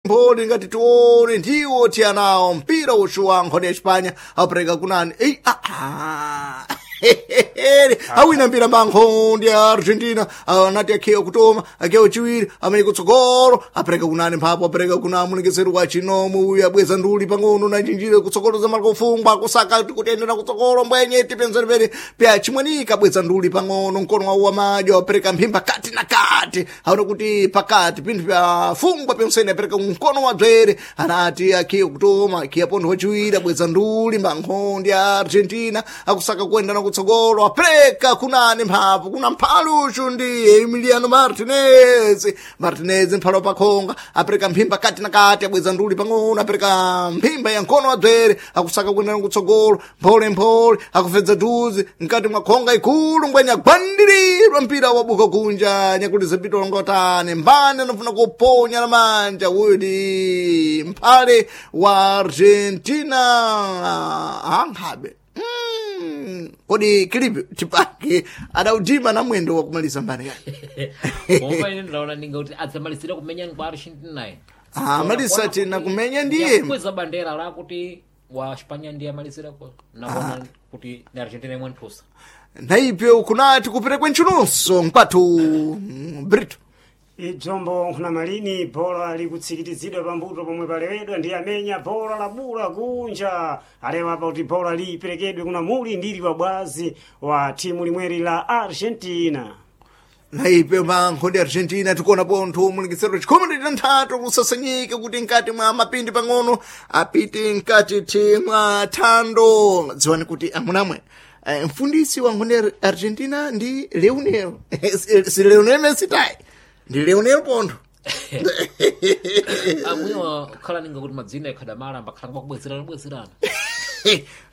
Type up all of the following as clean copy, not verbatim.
Mphole ngati tione ndiwo tiyanawo mpira uchuwa nkhoni ya Espanya apereka kunani ei awina mpira mankhondi ya Argentina anati akhiwa kutoma akhiwa chiwiri amene kutsogolo apereka kunani mphapo apereka kuna mulekeseri wa chinomo uyu abweza nduli pang'ono na chinjire kutsogolo za malakofungwa kusaka kutendera kutsogolo mbwenye tipenzeri pere pya chimwenika abweza nduli pang'ono mkono wawo wa madyo apereka mphimba kati na kati aona kuti pakati pinthu pya fungwa pyonsene apereka mkono wa dzwere anati akhiwa kutoma akhiya pontho wachiwiri abweza nduli mankhondi ya Argentina akusaka kuendana kutsogolo apereka kunani mphapo kuna mphaluchu ndi Emiliano Martinez. Martinez mphalo pakhonga apereka mphimba kati na kati abweza nduli pang'ono apereka mphimba ya mkono wa dzwere akusaka kuendana kutsogolo mphole mphole akufedza duzi mkati mwa khonga ikulu mbwenya agwandirirwa mpira wabuka kunja nyakuliza pito longotane mbani anafuna kuponya na manja uyu ndi mphale wa Argentina ankhabe. Kodi kilipi chipake adautima na mwendo wa kumaliza mbani yake. Pomba ine ndaona ninga kuti adzamalizira kumenya kwa Argentina. Ah, malisa tena kumenya ndiye. Kweza bandera la kuti wa Espanya ndiye amalizira ko. Naona kuti ni Argentina imwe nthusa. Naipyo kunati kuperekwe ntchununso mkwathu Brito. Idzombo nkhuna malini bhola likutsikitizidwa pambuto pomwe palewedwa ndi amenya bhola labula kunja alewa apa kuti bhola liperekedwe kuna muli ndili wabwazi wa timu limweri la Argentina. Naipyo mankho ndi Argentina tikuona pontho mulekesero chikhumi ndi tanthatu kusasanyika kuti mkati mwa mapindi pang'ono apite mkati thi mwa thando. Dziwani kuti amunamwe mfundisi wa nkhondo ya Argentina ndi Leonel si Leonel Messi tayi ndi Leonel pontho. Amwiwa kukhala ninga kuti madzina ikhadamala ambakhala ngwakubwezerana bwezerana.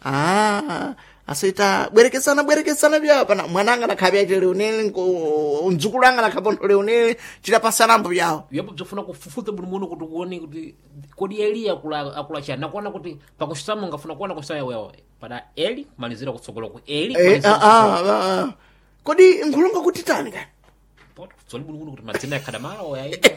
Ah, asita bwerekesana bwerekesana byawo pana mwananga nakhabe yache Leonel mdzukulu anga nakhapontho Leonel chidapasanambo byawo. Yapo bzofuna kufufuza bwino muno kuti uone kuti kodi Eli akula akula chani nakuona kuti pakusama ungafuna kuona kusaya wewe pada Eli kumalizira kutsogolo ku Eli Eh, kumalizira ah, ah, ah. Kodi nkhulunga kuti tani kani? kutsogolo. Tsoli bwino muno kuti madzina ikhadamala oyaita.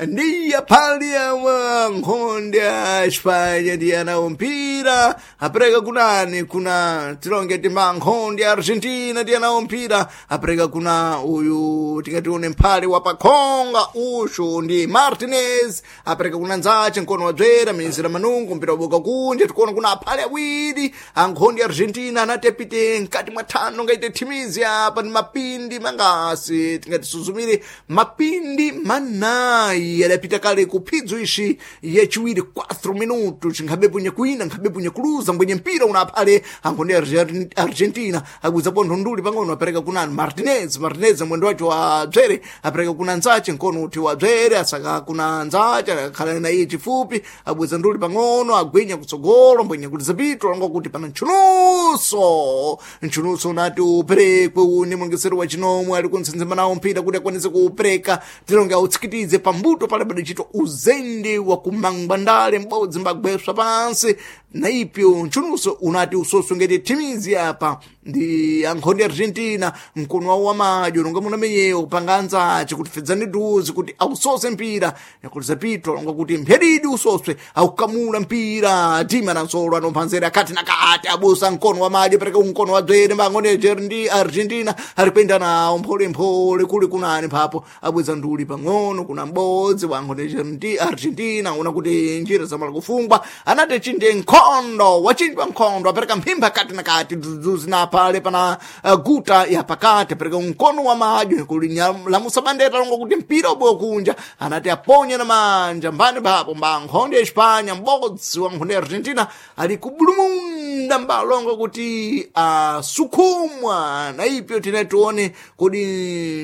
Ndiya phali yawa nkhonde ya Espanya ndiye anawo mpira apereka kunani kuna tilonge timba nkhonde ya Argentina ndiye anawo mpira apereka kuna uyu tikatione mphale wa pakhonga ushu ndi Martinez apereka kuna nzache mkono wa dzwera minzira manungu mpira waboka kunja tikuona kuna aphale awiri ankhonde ya Argentina anati apite mkati mwa thano ngaite thimizi apa ndi mapindi mangasi tingatisuzumire mapindi manayi adapita kale ku phidzo ixi yachiwiri 4 minutos nkhabe punye kuina nkhabe punye kuluza mbwenye mpira una aphale ankhonde ya Argentina agwiza pontho nduli pang'ono apereka kunani Martinez. Martinez mwendo wacho wa dzwere apereka kuna nzache mkono uti wa dzwere asaka kuna nzache akhala na iye chifupi abweza nduli pang'ono agwinya kutsogolo mbwenye kuti zapito langa kuti pana ntchununso ntchununso unati uperekwe une mulongesero wa chinomwe ali kuntsendzema nawo mpira kuti akwanise kuupereka tilonge autsikitize pambuto pale padachitwa uzende wa kumangwandale m'bodzi mbagweswa pansi naipyo ntchununso unati usoswe ngati thimizi apa ndi ankhonde Argentina mkono wawo wamadyo nonga munamenyewo kupanga anzace kuti fedzani duzi kuti ausose mpira yakuti zapito longa kuti mphedidi usoswe aukamula mpira tima na nsolo anomphanzera akati na kati abusa mkono wa madyo pereka mkono wa dzwere mbangone ndi Argentina ari kuenda nawo mpholemphole kuli kunani mphapo abweza nduli pang'ono kuna m'bodzi wa nkhonde ndi Argentina una kuti njira zamala kufungwa anati chinde nkhondo wachinjwa nkhondo apereka mphimba kati na kati duzuzi na pale pana guta ya pakati apereka mkono wa madyo kuli lamusa bandera longa kuti mpira ubowa kunja anati aponye na manja mbani papo mba nkhonde ya Espanya m'bodzi wa nkhonde ya Argentina ali kubulumunda mbalonga kuti asukhumwa na ipyo tinati tione kodi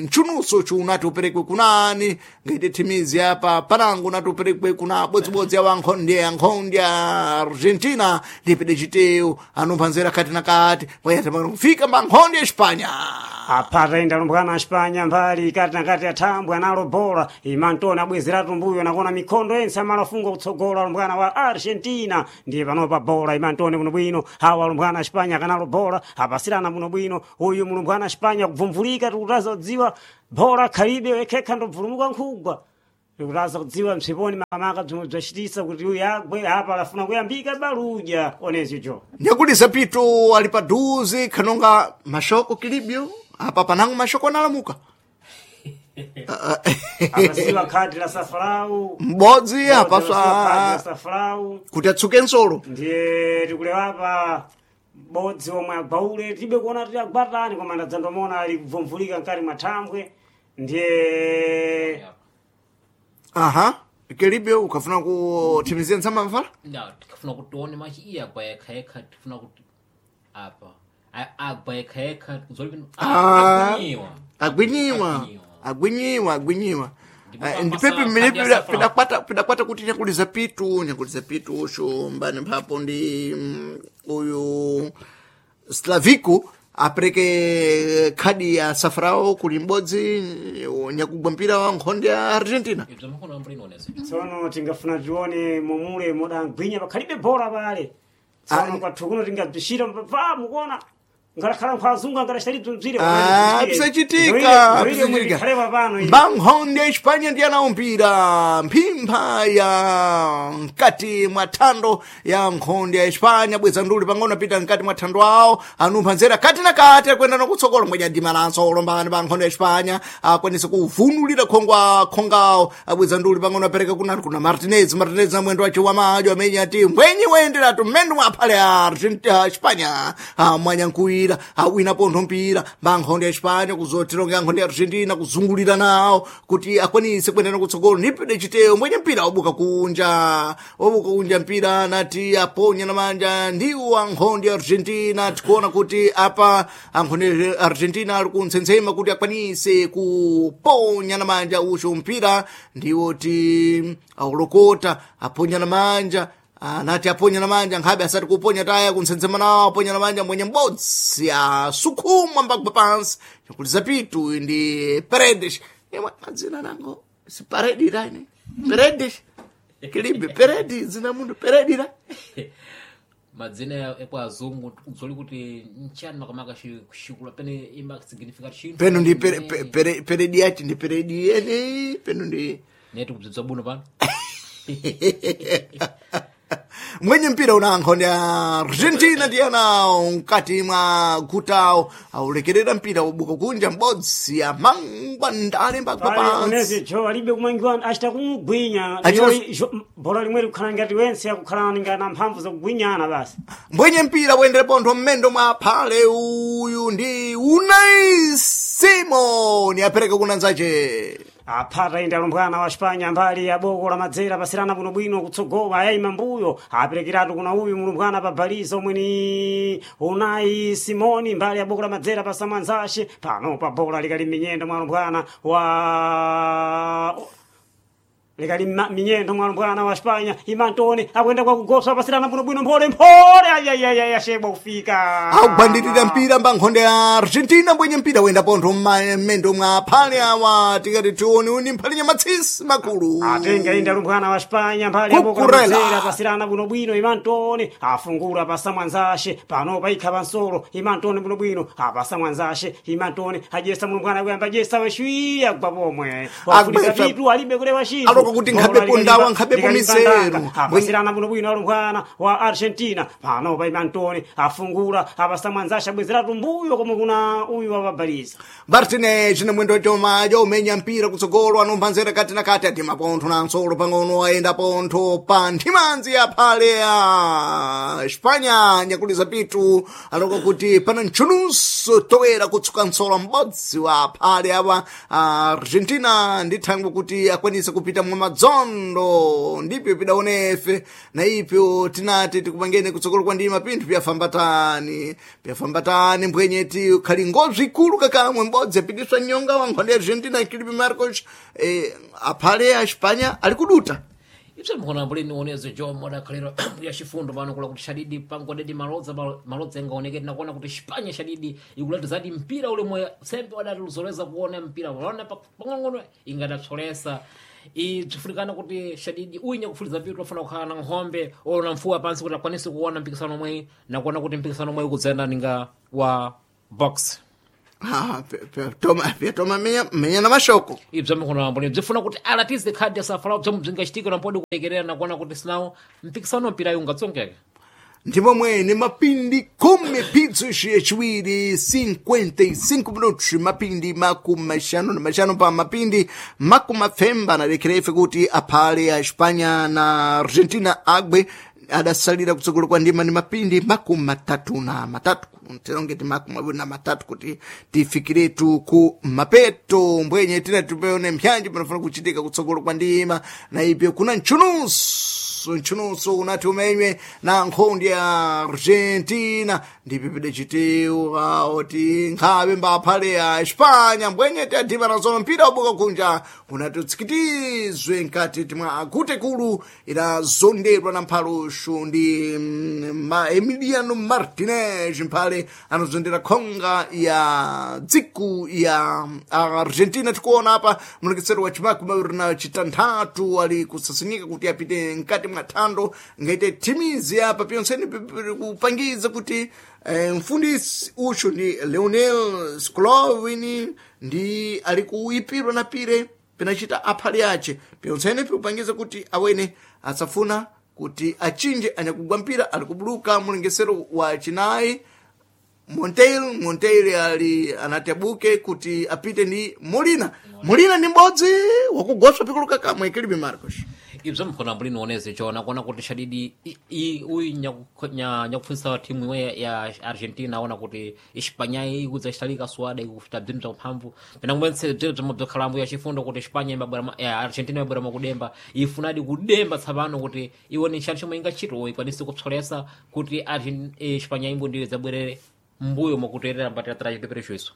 ntchununso chunati uperekwe kunani ngaite thimizi apa panango unati uperekwe kuna bodzibodzi awa nkhonde ya nkhonde ya Argentina ndipede chiteyo anomphanzera kati na kati wayatamana kufika mba nkhonde ya Espanya. Apata enda alumbwana a Espanya mbali kati na kati athambwe analo bhola imantoni abwezeratu mbuyo nakona mikhondo yense amalafunga kutsogola alumbwana wa Argentina ndiye panopa bhola imantoni bwinobwino hawa alumbwana a Espanya akanalo bhola apasirana bwinobwino uyu mulumbwana a Espanya kubvumvulika tikutaza kudziwa bhola khalibe wekhekha ndobvulumuka nkhugwa. Tikutaza kudziwa msiponi makamaka bzomwe bzacitisa kuti uyu agwe apa alafuna kuyambika baluja onezi jo. Nyakulisa pitu ali paduze khanonga mashoko kilibyo apa panango mashoko analamuka. Apasiwa khadi la safarau. M'bodzi Apasiwa khadi la apaswa safarau. Kuti atsuke nsolo. Ndiye tikulewapa bodzi omwe agwaule tibe kuona kuti agwatani koma ndadzandomona ali kubvumvulika mkati mwa thambwe ndiye. Aha, kilibyo ukafuna kuthimizia ntsamba mfala. Nda tikafuna kuti tione machi iye agwa yekha yekha, tifuna kuti apa agwa yekha yekha zoli. Ah. Agwinyiwa. Agwinyiwa. Agwinyiwa. Agwinyiwa, agwinyiwa. Ndipo Ndipepi pamasa mmene khadi ya safarau. pidakwata kuti nyakuliza pitu, nyakuliza pitu usho mbani mphapo ndi uyu Slavico apereke khadi ya safrao kuli m'bodzi nyakugwa mpira wa nkhonde ya Argentina. Ibzo makono ambiri ionese. Tsono tingafuna tione momule modangwinya pakhalibe bora pale. Tsono Ah. kwathu kuno tingabzishira pa mukuona ngalakhala nkhwazungu angalachita bzire. Ah, pisachitika, pisachitika. khalewa pano iyi. Mbankhonde ya Hispania ndi anawo mpira mphimpha ya mkati mwa thando ya nkhonde ya Hispania bweza nduli pang'ono apita mkati mwa thando awo anumpha nzera kati na kati akwenda nokutsogolo mwenye adimalanso olombani pa nkhonde ya Hispania akwanisa kuvunulira khongwa khongawo abweza nduli pang'ono apereka kunani kuna Martinez. Martinez na mwendo wace wamadyo amene ati mbwenyi woyenderatu mmene mwaphale a Argentina Hispania mwanyankuwira awina pontho mpira mbankhonde ya Hispania kuzotironga nkhonde ya Argentina kuzungulira nawo kuti akwanise kuendana kutsogolo nipide chiteyo mwenye mpira wabuka kunja, wabuka kunja mpira nati aponya na manja ndiwo ankhonde ya Argentina. Tikuona kuti apa ankhonde ya Argentina ali kuntsensema kuti akwanise kuponya na manja ucho mpira ndiwo ti aulokota aponya na manja anati aponya na manja nkhabe asati kuponya taya kuntsensema nawo aponya na manja mwenye m'bodzi asukhumwa mbagwa pansi nyakuliza pitu ndi Paredes. Imwe madzina nango si Paredi rani Paredes kilibe Peredi zina mundu Peredi ra. Madzina ekwa azungu zoli kuti nchani makamaka xikula pene imba significa chinthu. Peno ndi Peredi yachi ndi Peredi yene peno ndi. Neti kubzibza buno pano. Mwenye mpira una nkhonde ya Argentina ndi anawo mkati mwa gutawo aulekerera mpira wabuka kunja m'bodzi amangwa ndale mbagwa Pale pansi. onezi jo alibe kumangiwa achita kumugwinya. Bora limwe likukhala ngati wense akukhala ngati mphamvu zakugwinyana basi. Mbwenye mpira woyendera pontho mmendo mwa phale uyu ndi Unai Simon apereka kuna nzache. Aphata inde alumbwana wa Spanya mbali ya boko la madzera pasirana bwinobwino kutsogola ayayima mbuyo aperekeratu kuna uyu mulumbwana pa baliza omwe ni Unai Simoni mbali ya boko la madzera pa samwanzace pano pa bola likali minyendo mwa alumbwana wa likali minyendo mwa alumbwana wa Spanya imantone akuyenda kwa kugosa pasirana bwinobwino mphole mphole ayayayaya shebwa kufika. Akugwandirira mpira mba nkhonde ya Argentina mbwenye mpira woyenda pontho mmendo mwa phale awa tikati tione uni mphale nyamatsisi makulu. Atenga inde alumbwana wa Spanya mbali Kukurela. yabokolamazera pasirana bwinobwino imantone afungula pasamwanzashe pano paikha pansolo imantone bwinobwino apasamwanzashe imantone ajesa mulumbwana kuyamba jesa weshwiya gwa pomwe wafunika Agwetsa- vitu alibe kulewa chinthu. Aloka kuti nkhabe Bola pundawa, nkhabe likalimba pumiseru. ndanga. Apasirana bwinobwino alumbwana wa Argentina pano pa imantone afungula apasamwanzashe abwezeratu mbuyo komwe kuna uyu wapabaliza. Martinez na mwendo chomajo umenya mpira kutsogolo anumpha nzera kati na kati atima pontho na nsolo pang'ono ayenda pontho pa nthimanzi ya phale ya Espanya nyakuliza pitu aloka kuti pana ntchununso toera kutsuka nsolo m'bodzi wa phale awa Argentina ndi thangwe kuti akwanise kupita mwa madzondo ndipyo pidaonefe na ipyo tinati tikupangene kutsogolo kwa ndima pinthu pyafambatani pyafambatani mbwenyeti khali ngozwi ikulu kakamwe m'bodzi apitiswa nyonga wa nkhonde ya Argentina Filipe Marcos aphale a Espanya ali kuduta. Ibzo makono ambiri nioneze jo modakhalira ya chifundo pano kula kuti shadidi pangodedi malodza malodza ingaoneke tinakuona kuti Spanya shadidi ikuleta zadi mpira ule mwe sembe wadatuluzoleza kuona mpira waona pang'onong'ono ingadatsolesa ibzifunikana kuti shadidi uinya kufuliza vitu afuna kukhala na nkhombe ona mfuwa pansi kuti akwanise kuona mpikisano omwe nakuona kuti mpikisano omwe ukudzayenda ninga wa box. Toma menya na mashoko. Ibzo mikono bzifuna kuti alatize khadi asafala bzomwe bzingachitika nampodi kulekerera nakuona kuti sinawo mpikisano mpira ungatsongeka. Ndimo mwene mapindi 10 pizzo yachiwiri 55 minutos, mapindi 55 pa mapindi 70 analekera ife kuti aphale a Espanya na Argentina agwe adasalira kutsogolo kwa ndima ni mapindi 33, tilongeti 23 kuti tifikiretu ku mapeto mbwenye tina tipeone mpyanji panafuna kuchitika kutsogolo kwa ndima na ipyo kuna ntchunuso unati umenywe na nkhondi ya Argentina ndipo pidachitiwa oti nkhabe mbaphale ya Espanya mbwenye tiyadhima nazono mpira wabuka kunja unati utsikitizwe nkati timwa akutekulu idazondedwa na mphaluxu ndi Emiliano Martinez mphale anazondera khonga ya dziku ya Argentina. Tikuona apa mulekesero wa chimaku mawiri na chitanthatu ali kusasinyika kuti apite nkati mwa thando ngaite thimizi apa pyonseni kupangiza kuti mfundisi uchu ndi Leonel Scaloni ndi ali kuipirwa na pire pinachita aphale ace pyonsene pikupangiza kuti awene asafuna kuti achinje anyakugwa mpira ali kubuluka mulengesero wa chinayi Monteil ali anati abuke kuti apite ndi Molina. Molina ndi m'bodzi wakugoswa pikuluka kamwe kilibe Marcos. Ibzo mkhona mbuli nioneze chona kuona kuti shadidi uyu nyakupfunsa timu imwe ya Argentina aona kuti Espanya ikudza ichitalika swada ikufuta bzinthu bza mphamvu pena kumwentse bziro bzomwe bzokhalambo ya chifundo kuti Espanya imabwera ya Argentina imabwera makudemba ifunadi kudemba tsapano kuti iwone nchani chomwe ingachito ikwanise kupsolesa kuti Espanya imbo ndiyo idzabwerere mbuyo mwakuterera mbatira chipeperecho iso.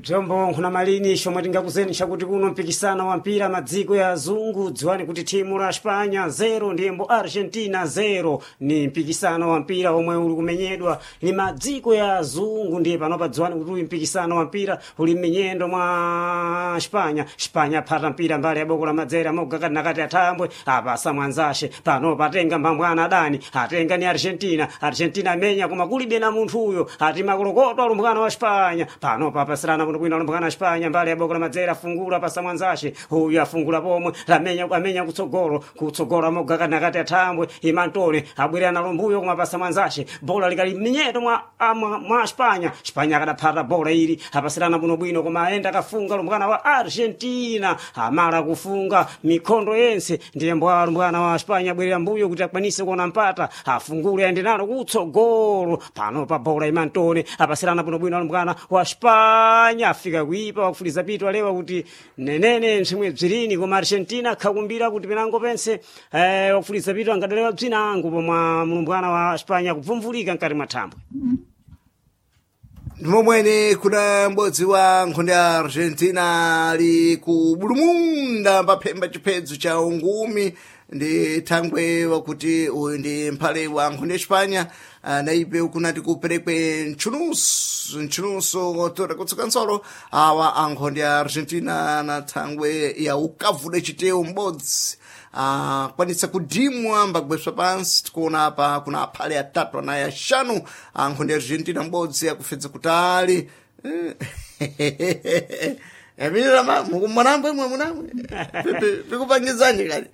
Bzombo nkhuna malini shomwe tingakuzeni chakuti kuno mpikisano wa mpira madziko ya azungu dziwani kuti thimu la Espanya 0 ndiyembo Argentina 0 ni mpikisano wa mpira omwe uli kumenyedwa ni madziko ya azungu ndiye panopa dziwani kuti uyu mpikisano wa mpira uli m'minyendo mwa Espanya. Espanya aphata mpira mbali ya boko la madzera moga kati nakati athambwe apasa mwanzashe panopa atenga mbambwana adani atenga ni Argentina. Argentina amenya koma kulibe na munthu uyo ati makolokoto alumbwana wa Espanya panopa apasirana kuno kwina alumbwana wa Espanya mbali ya boko la madzera afungula pasa mwanzashe uyu afungula pomwe lamenya amenya kutsogolo kutsogolo amoga kati nakati athambwe imantone abwerera nalo mbuyo koma pasa mwanzashe bola likali m'minyeto mwa, mwa Espanya. Espanya akadaphata bola ili apasirana bwino bwino koma ayenda akafunga alumbwana wa Argentina amala kufunga mikhondo yense ndiye mbwa alumbwana wa Espanya abwerera mbuyo kuti akwanise kuona mpata afungule ayende nalo kutsogolo pano pa bola imantone apasirana bwinobwino alumbwana wa Espanya afika kuipa wakufuliza pitu alewa kuti nenene msimwe bzirini koma Argentina akhakumbira kuti penango pense wakufuliza pitu angadalewa bzinango pomwe mlumbwana wa Espanya kubvumvulika mkati mwa thambwe. Ndimomwene kuna m'bodzi wa nkhonde ya Argentina ali ku bulumunda paphemba chiphedzo cha ungumi ndi thangwe wakuti uyu ndi mphale wa nkhonde ya Espanya naipe kunati kuperekwe ntchunuso otora kutsuka nsolo awa ankhonde ya Argentina na thangwe ya ukavuda chitewu m'bodzi akwanitsa kudimwa mbagweswa pansi. Tikuona apa kuna aphale atatu anayi axanu ankhonde ya Argentina m'bodzi akufedza kutali. Mwanambwe mwanambwe pikupangizani kali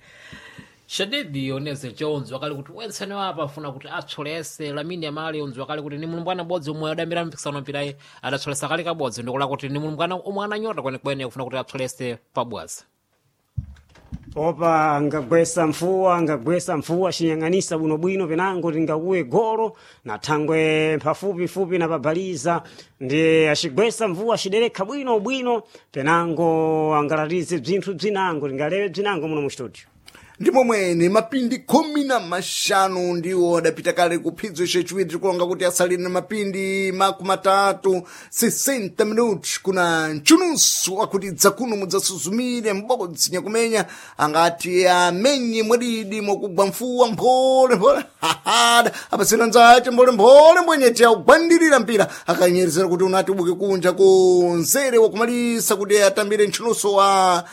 Shadidi oneze Jones wakali kuti wensene wapa afuna kuti atsolese Lamine Yamal onzi wakali kuti ni mulumbwana bodzi omwe adambira mpikisano mpirayi adatsolesa kale kabodzi ndikula kuti ni mulumbwana omwe ananyota kwenekwene kufuna kuti atsolese pabwazi. Opa angagwesa mfuwa angagwesa mfuwa xinyang'anisa bwinobwino penango tingakuwe golo na thangwe pafupifupi na pabaliza ndiye acigwesa mvuwa aciderekha bwino bwino penango angalatize bzinthu bzinango tingalewe bzinango muno mu studio. Ndimo mwene mapindi 15 ndiwo adapita kale kuphidzo chachiwiri tikulonga kuti asalire na mapindi 30 60 minutos kuna mchunusu wakuti dzakuno mudzasuzumire m'bodzi nyakumenya angati amenye mwadidi mwakugwa mfuwa mphole mphole hahada apasira nzace mphole mphole mbwenyete akugwandirira mpira akanyerezera kuti unati ubuke kunja kunzere wakumalisa kuti atambire mchunuso wa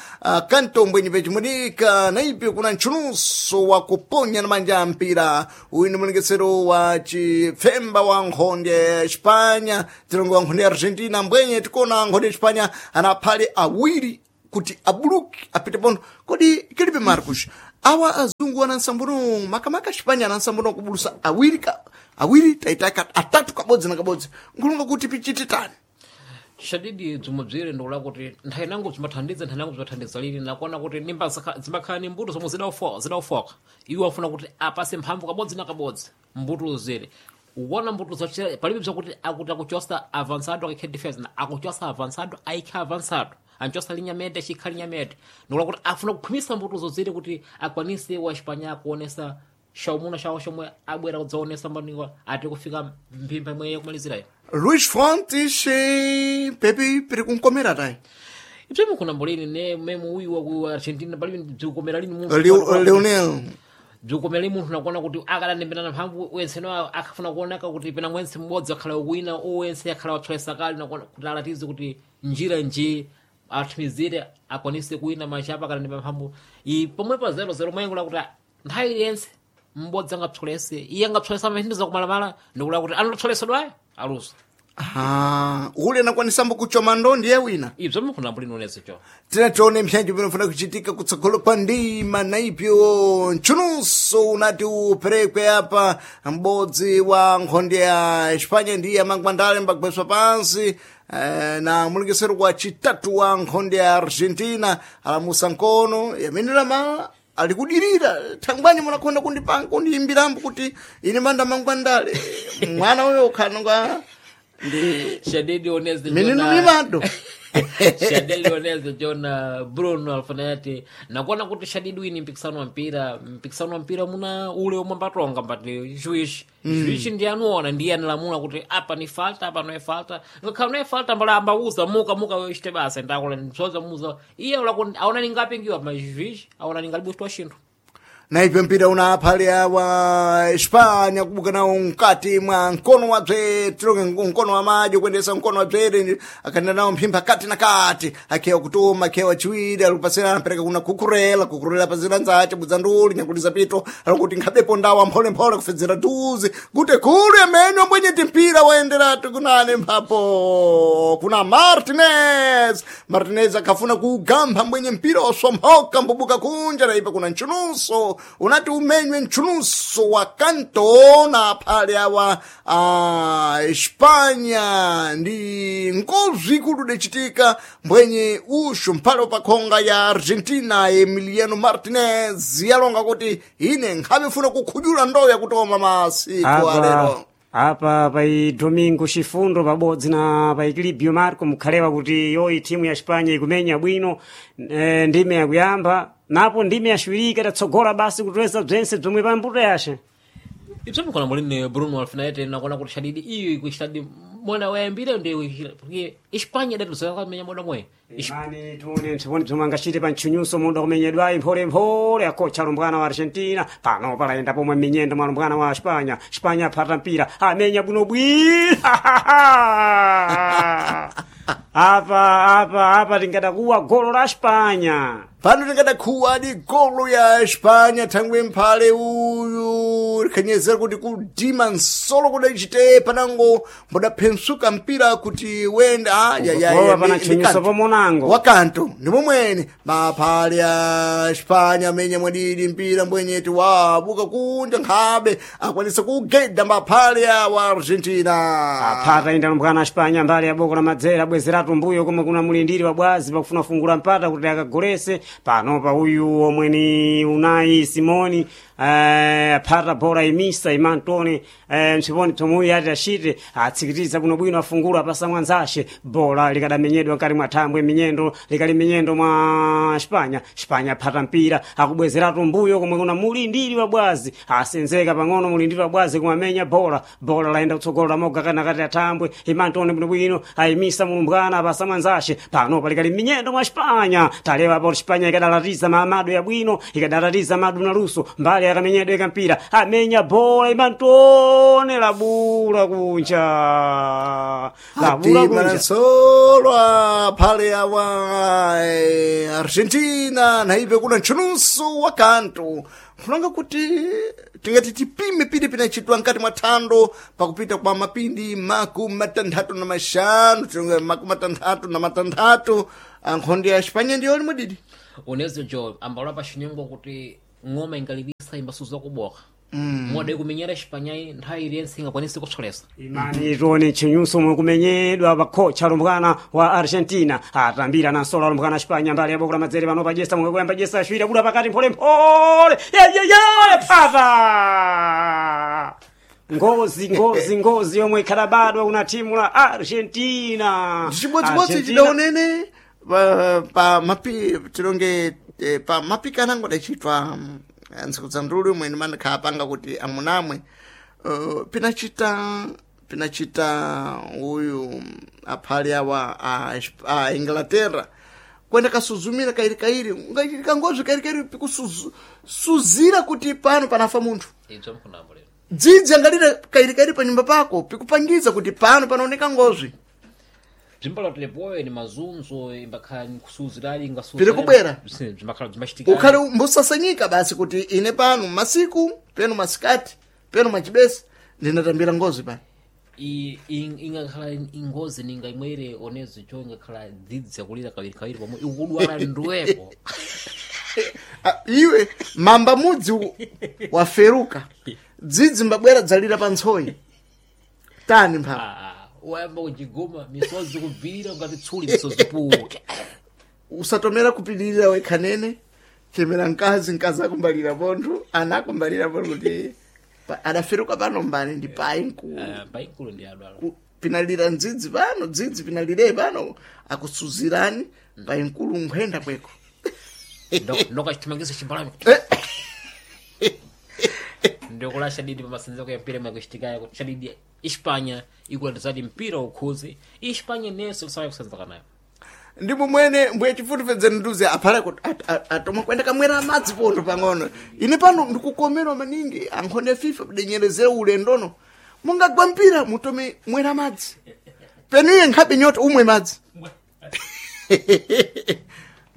kanto mbwenye pechimudika naipe kuna kuna nchunuso wa kuponya na manja ya mpira. Uyu ni mulengesero wa chipfemba wa nkhonde ya Espanya, tilongo wa nkhonde ya Argentina. Mbwenye tikona nkhonde ya Espanya ana phale awiri kuti abuluki apite pono. Kodi kilipe Marcos, awa azungu anansambuno makamaka Espanya anansambuno kubulusa awiri ka awiri taitaka atatu kabodzi na kabodzi, nkulonga kuti pichite tani. Shadidi bzomwe bzire ndikula kuti nthawi nangu bzimathandiza, nthawi nangu bzimathandiza lini nakuona kuti nimba zimakhala ni mbuto zomwe zidaufoka, iwo afuna kuti apase mphamvu kabodzi na kabodzi mbuto zire ukuona mbuto zochera palibe bzakuti akuti akuchosa avançado akaikhe defense na akuchosa avançado aikhe avançado anchosa linya mede achikha linya mede, ndikula kuti afuna kukhwimisa mbuto zozire kuti akwanise wa Espanya kuonesa shaumuna shawo shomwe abwera kudzaonesa mbaniwa ati kufika mphimba imwe yakumalizirayo. Luis Fontes pepi piri kunkomera tayi. Ibzomwe mukunambo lini ne memu uyu wa ku Argentina palibe bzikukomera lini munthu. Leonel. Bzikukomera lini munthu nakuona kuti akalandembera mphamvu wenseno akafuna kuoneka kuti pena mwense mmodzi akhala wina owense akhala watsolesa kale nakuona kuti alatize kuti njira nji athumizire akwanise kuwina machapa akalandembera mphamvu i pomwe pa 0-0 mwengo kuti nthawi iliyonse mmodzi angapsolese iye angapsolesa mahindiza kumalamala ndikula kuti anatsolesedwayo aluso. Ah, ule anakwanisambo kuchoma ndo ndiye wina. Ibzo mukunambo lini unezecho. Tina tione mpyanjo vinofuna kuchitika kutsogolo kwa ndima naipyo nchunuso unati uperekwe apa m'bodzi wa nkhonde ya Espanya ndiye amangwandale mbagweswa pansi na mulengesero wa chitatu wa nkhonde ya Argentina alamusa nkono yamenera mala alikudirira thangwani munakonda kundipanga kundiyimbirambo kuti ine manda mangwandale mwana uyo ukhanonga ndi Shadidi oneze minino mimado. Shadidi oneze Jona Bruno Alfanati nakuona kuti Shadidi wini mpikisano wa mpira, mpikisano wa mpira muna ule omwe ambatonga mbati juiz juiz ndiye anuona ndiye analamula kuti apa ni falta apa no é falta, ngakhala no é falta mbala ambauza muka muka wechte basa ndakula ndsoza muza iye ula aona ningapingiwa ma juiz aona ningalibu chinthu. Naipyo mpira una aphale awa Espanya kubuka nawo mkati mwa mkono wa bzere tilonge mkono wa madyo kuendesa mkono wa bzere akaenda nawo mphimba kati na kati akhewa kutuma akhewa chiwiri alikupasira anapereka kuna kukurela kukurela pazira nzace budza nduli nyakuliza pito alikuti nkhabepo ndawa mpholemphole kufedzera duzi kuti khulu yamene mbwenyeti mpira waenderatu kunane mphapo kuna Martinez. Martinez akafuna kuugamba mbwenye mpira waswamphoka mbubuka kunja naipa kuna nchunuso unati umenywe nchunuso wa kanto na phale awa Espanya ndi ngozi ikulu dachitika mbwenye ushu mphale wapakhonga ya Argentina Emiliano Martinez yalonga kuti ine nkhabe funa kukhujula ndoya kutoma masiku alero. Apa pai Domingo Chifundo pabodzi na pai Clibio Marco mukhalewa kuti yoyi timu ya Espanya ikumenya bwino ndime yakuyamba napo ndime yaciwirika itatsogola basi kutweza bzense bzomwe pambuto yace. Ibzo mukona mulini Bruno Alfinete nakuona kuti Shadidi iyo ikuchitadi mwana wayambire ndi porque Espanya idatizokamenya mwana mwe. Imani tione mpsiponi bzomwe angachite pa ntchunyuso muda kumenyedwayi mpholemphole akocha alumbwana wa Argentina pano palayenda pomwe minyendo mwa alumbwana wa Espanya. Espanya aphata mpira amenya bwinobwino apa apa apa tingadakuwa golo la Espanya. Pano tingadakhuwa di golo ya Espanya thangwe mphale uyu likhanyezera kuti kudima nsolo kudachite panango mbodaphensuka mpira kuti wenda ah, ya, ya, Kugowa ya, pana ndi ntchunyuso kanto. pomonango. Wakanto ndi momwene maphale ya Espanya amenya mwadidi mpira mbwenyeti wabuka kunja nkhabe akwanisa kugeda maphale awa Argentina. Aphata inda alumbwana a Espanya mbali ya boko la madzera abwezeratu mbuyo komwe kuna mulindiri wa bwazi pakufuna fungula mpata kuti akagolese panopa uyu omwe ni Unai Simoni aphata bola imisa imantone mtsiponi psomwe uyu ati achite atsikitiza bwinobwino afungula apasa mwanzace bola likadamenyedwa mkati mwa thambwe minyendo likali minyendo mwa Espanya. Espanya aphata mpira akubwezeratu mbuyo komwe kuna mulindiri wa bwazi asenzeka pang'ono mulindiri wa bwazi kumamenya bola bola laenda kutsogolo lamoga kana kati athambwe imantone bwinobwino ayimisa mulumbwana apasa mwanzace pano palikali minyendo mwa Espanya talewa apo Espanya ikadalatiza maamado yabwino ikadalatiza madu na luso mbali ya yakamenyedwe kampira amenya bola imantone labula kunja, labula kunja. Atimanansolwa phale awa Argentina naipe kuna ntchunusu wa kanthu nkhulanga kuti tingati tipime pili pinachitwa nkati mwa thando pakupita kwa mapindi 65, tinga 66, ankhonde ya Espanya ndiyo limwe didi. Unezo jo ambalo pa xinyengo kuti ng'oma ingalipisa imbasuza kuboka moda ikumenyera Espanyayi nthawi iliyense ingakwanisi kutsolesa. Imani tione ntchinyuso mwe kumenyedwa pakhocha alumbwana wa Argentina atambira nansola alumbwana Espanya mbali yaboko la madzere pano pajesa mwe kuyamba jesa ashwira bula pakati mpholemphole yeyeye phata ngozi ngozi ngozi yomwe ikhalabadwa kuna timu la Argentina. Chimodzimodzi Argentina- chidaonene pa mapi tilonge pa mapikana angodachitwa ntsiku za ndulu imwe ndimanakhala panga kuti amunamwe pinachita uyu aphali awa a Inglaterra kwenda kasuzumira kairikairi ungachitika ngozi kairikairi pikusuzira kuti pano panafa munthu. Idzo mkunambo lero Dzidzi angalira kairikairi panyumba pako pikupangiza kuti pano panaoneka ngozwi. Bzimbalo tilepoyo ni mazunzo imbakhala nkusuzirali Piri kubwera. Bzimbakhala bzimbachitika Ukhale mbusasanyika basi kuti ine pano masiku peno masikati peno machibesi ndinatambira ngozi pano. Ingakhala ingozi ninga imwere onezo jo ingakhala dzidzi yakulira kawiri kawiri pomwe ikudwala ndwepo. Ah, iwe mamba mudzi waferuka dzidzi mbabwera dzalira pa ntsoyi tani mpha. Ah, wayamba kuchigoma misozi kubvira ngati tsuli misozi puke. Usatomera kupilirira wekhanene chemera mkazi mkazi akumbalira pontho ana akumbalira pontho kuti adaferuka pano mbani ndi payi mkulu. Ah, paikulu ndi adwala. Pinalira ndzidzi pano dzidzi pinalire pano akusuzirani payi mkulu nkhwenda kweko. Ndokachithamangisa chimbalame ndikula shadidi pamasanzeko ya mpira imwe kuti shadidi Espanya ikulandizadi mpira ukhuzi Espanya nenso kusaya kusenzeka nayo. Ndipo mwene mbuye chifutifedzeni nduze aphale kuti atoma kwenda kamwera amadzi pontho pang'ono ine pano ndikukomerwa maningi ankhonde ya FIFA kudenyerezera ulendono mungagwa mpira mutome mwera amadzi penuye nkhabe nyota umwe madzi.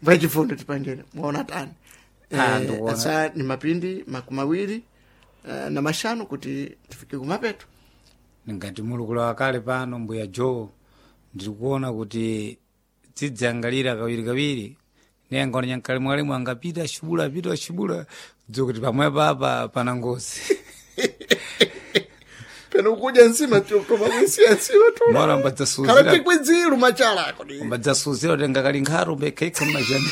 Mbuye chifundo tipangene mwaona tani. Ah, ndikuona. Asa ni mapindi 25 kuti tifike kumapeto. Ngati mulukula wakale pano mbuya Joe ndikuona kuti dzidzangalira kawiri kawiri ne angaona nyankalimwalimwe angapita ashibula apita ashibula dziwa kuti pamwepo apa pana ngozi. Peno kudya nsima toma kuisiya nsima Mora tula mbadzasuzira khala tikwidzilu machalako mbadzasuzira kuti ngakali nkharu mbekhaikha mmajani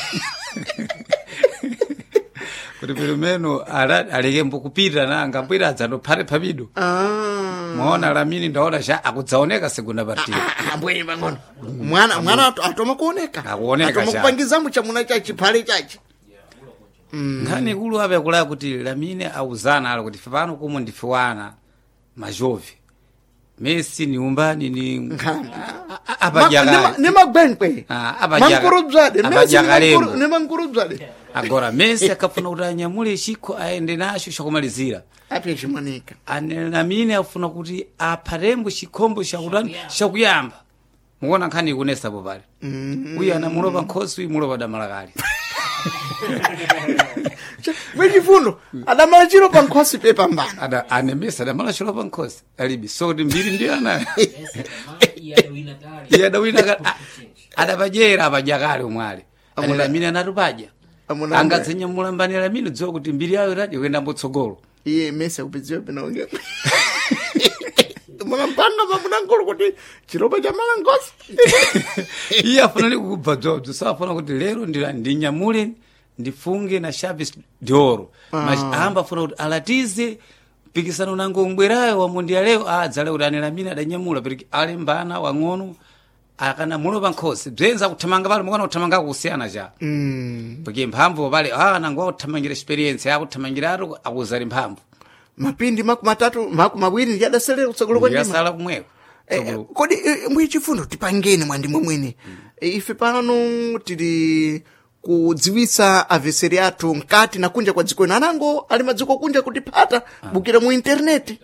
kuti pilimeno aleke mbukupita na angambwira adzandophate phapido. Ah. Mwaona lamini ndaona cha akudzaoneka segunda partida. Ambwenye pang'ono mwana mwana atoma kuoneka. Akuoneka atoma cha. kupangizamo chamuna chachi phale chachi. Nkhani ikulu ape kulaya kuti lamine auzana alo kuti pano kumwe ndife wana majovi Messi ni umbani ni Nkhamba. Apajakale Ne magwenkwe. Ah, apajaga- Mankurudzade Messi apajakalemo. ne mankurudzade. Agora Messi akafuna kuti anyamule chikho aende nacho chakumalizira. Apye chimanika. Ane lamine afuna kuti aphatembo chikhombo chakutani chakuyamba mukuona nkhani ikunesapo pale uyu anamulopa nkhosi uyu mulopa damalakale. Mwechifundo adamala chiro pa nkhosi pe pambana. Ada ane Messi adamala chilopa nkhosi alibi so kuti mbiri ndi anayo. Iye adawina adapajera apajakale omwe ali ane lamine anatupadya Amuna- angadzenyamula mbani lamine dziwa kuti mbiri yayo itadi kuyenda mbotsogolo. Iye Messi akupidziwa pinaonge munampanga pamunangolo kuti chiropa cha mala nkhosi. Iye afuna likubva dzobzo safuna kuti lero ndinyamule ndifunge na Chaves d'Oro. Amba afuna kuti alatize mpikisano nango mbwerayo wa mundialeyo adzale kuti ane lamine adanyamula pereki alembana wang'ono akanamulopa nkhosi bzenza kuthamanga pale mukana kuthamanga kusiyana cha porque mphamvu pale nango akuthamangira experience akuthamangira atu akuzali mphamvu. Mapindi 20 ndi adaselera kutsogolo kwa ndima. Ndiyasala kumweko. Kodi mwichifundo tipangeni mwandimwe mwene. Ife pano tili Kudziwisa aveseri athu mkati na kunja kwa dziko ino, anango ali madziko kunja kutiphata bukira mu interneti,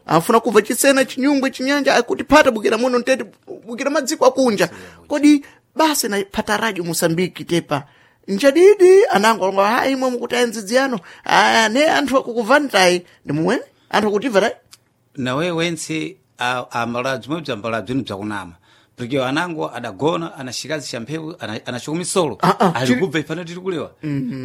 afuna kubva chisena, chinyungwe, chinyanja, akutiphata bukira muno mtete, bukira madziko akunja. Kodi basi na phata Radio Mosambiki tepa njadidi anango alonga hayi imwe mukuti ayenzidziyano aya ne anthu akukuvanitai ndi mumwene anthu akutimva tai. Nawe wentse ambalabzi mwe bzambalabzi ni bzakunama porque anango adagona anashikazi sha mphepo anashuka misolo. Ah, ah, ali kubva ifana tiri kulewa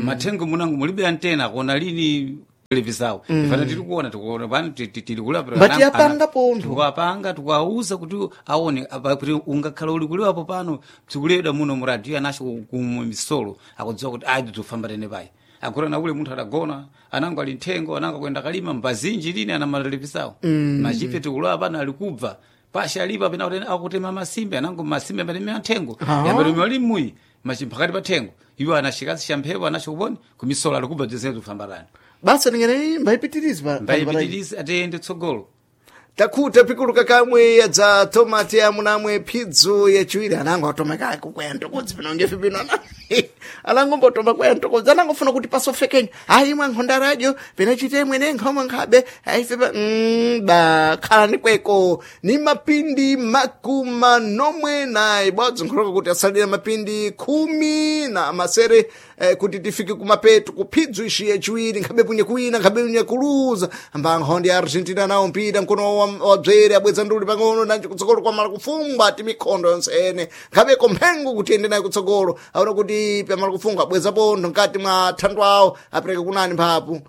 mathengo munango mulibe antena akuona lini televisawo ifana tiri kuona tikuona pano tiri kulewa pero Mbati yapanga pontho. Tikapanga tikawauza kuti aone apa kuti ungakhala uli kulewapo pano bzikulewedwa muno mu radio anasho kumwe misolo akudziwa kuti ayi bzofamba tene payi akura na ule munthu adagona anango ali nthengo anango akuyenda kalima mbazinji lini ana matelevisawo machife tikulewa pano ali kubva pasha alipo apena kuti akutema masimbe anango masimbe ambatemera nthengo yambatemera limuyi machimphakati pa thengo iwo anashikazi sha mphepo anasho kuponi kumisolo ali kubva bzese bzofamba tani. Basa ningene mbayipitirizi mbayipitirizi atiyende tsogolo. Takhuta pikuluka kamwe yadza tomati amunamwe phidzo yachiwiri anango atomeka kukwaya ntokodzi pino ngefe pino anango mbotoma kwaya ntokodzi anangofuna kuti pasofekenyo ayi imwe nkhonda radio pinachite mwene nkhomwe nkhabe ayife pa ba khalani kweko ni mapindi 47 na nkholoka kuti asalira mapindi 16 kuti tifike kumapeto kuphidzo ishi yachiwiri nkhabe punye kuwina nkhabe punye kuluza amba nkhondi ya Argentina nawo mpira mkono wabzere abweza nduli pang'ono nanji kutsogolo kwamala kufungwa ati mikhondo yonse ene nkhabe komphengo kuti ende nayo kutsogolo aona kuti pamala kufungwa abweza pontho mkati mwa thandu awo apereka kunani mphapu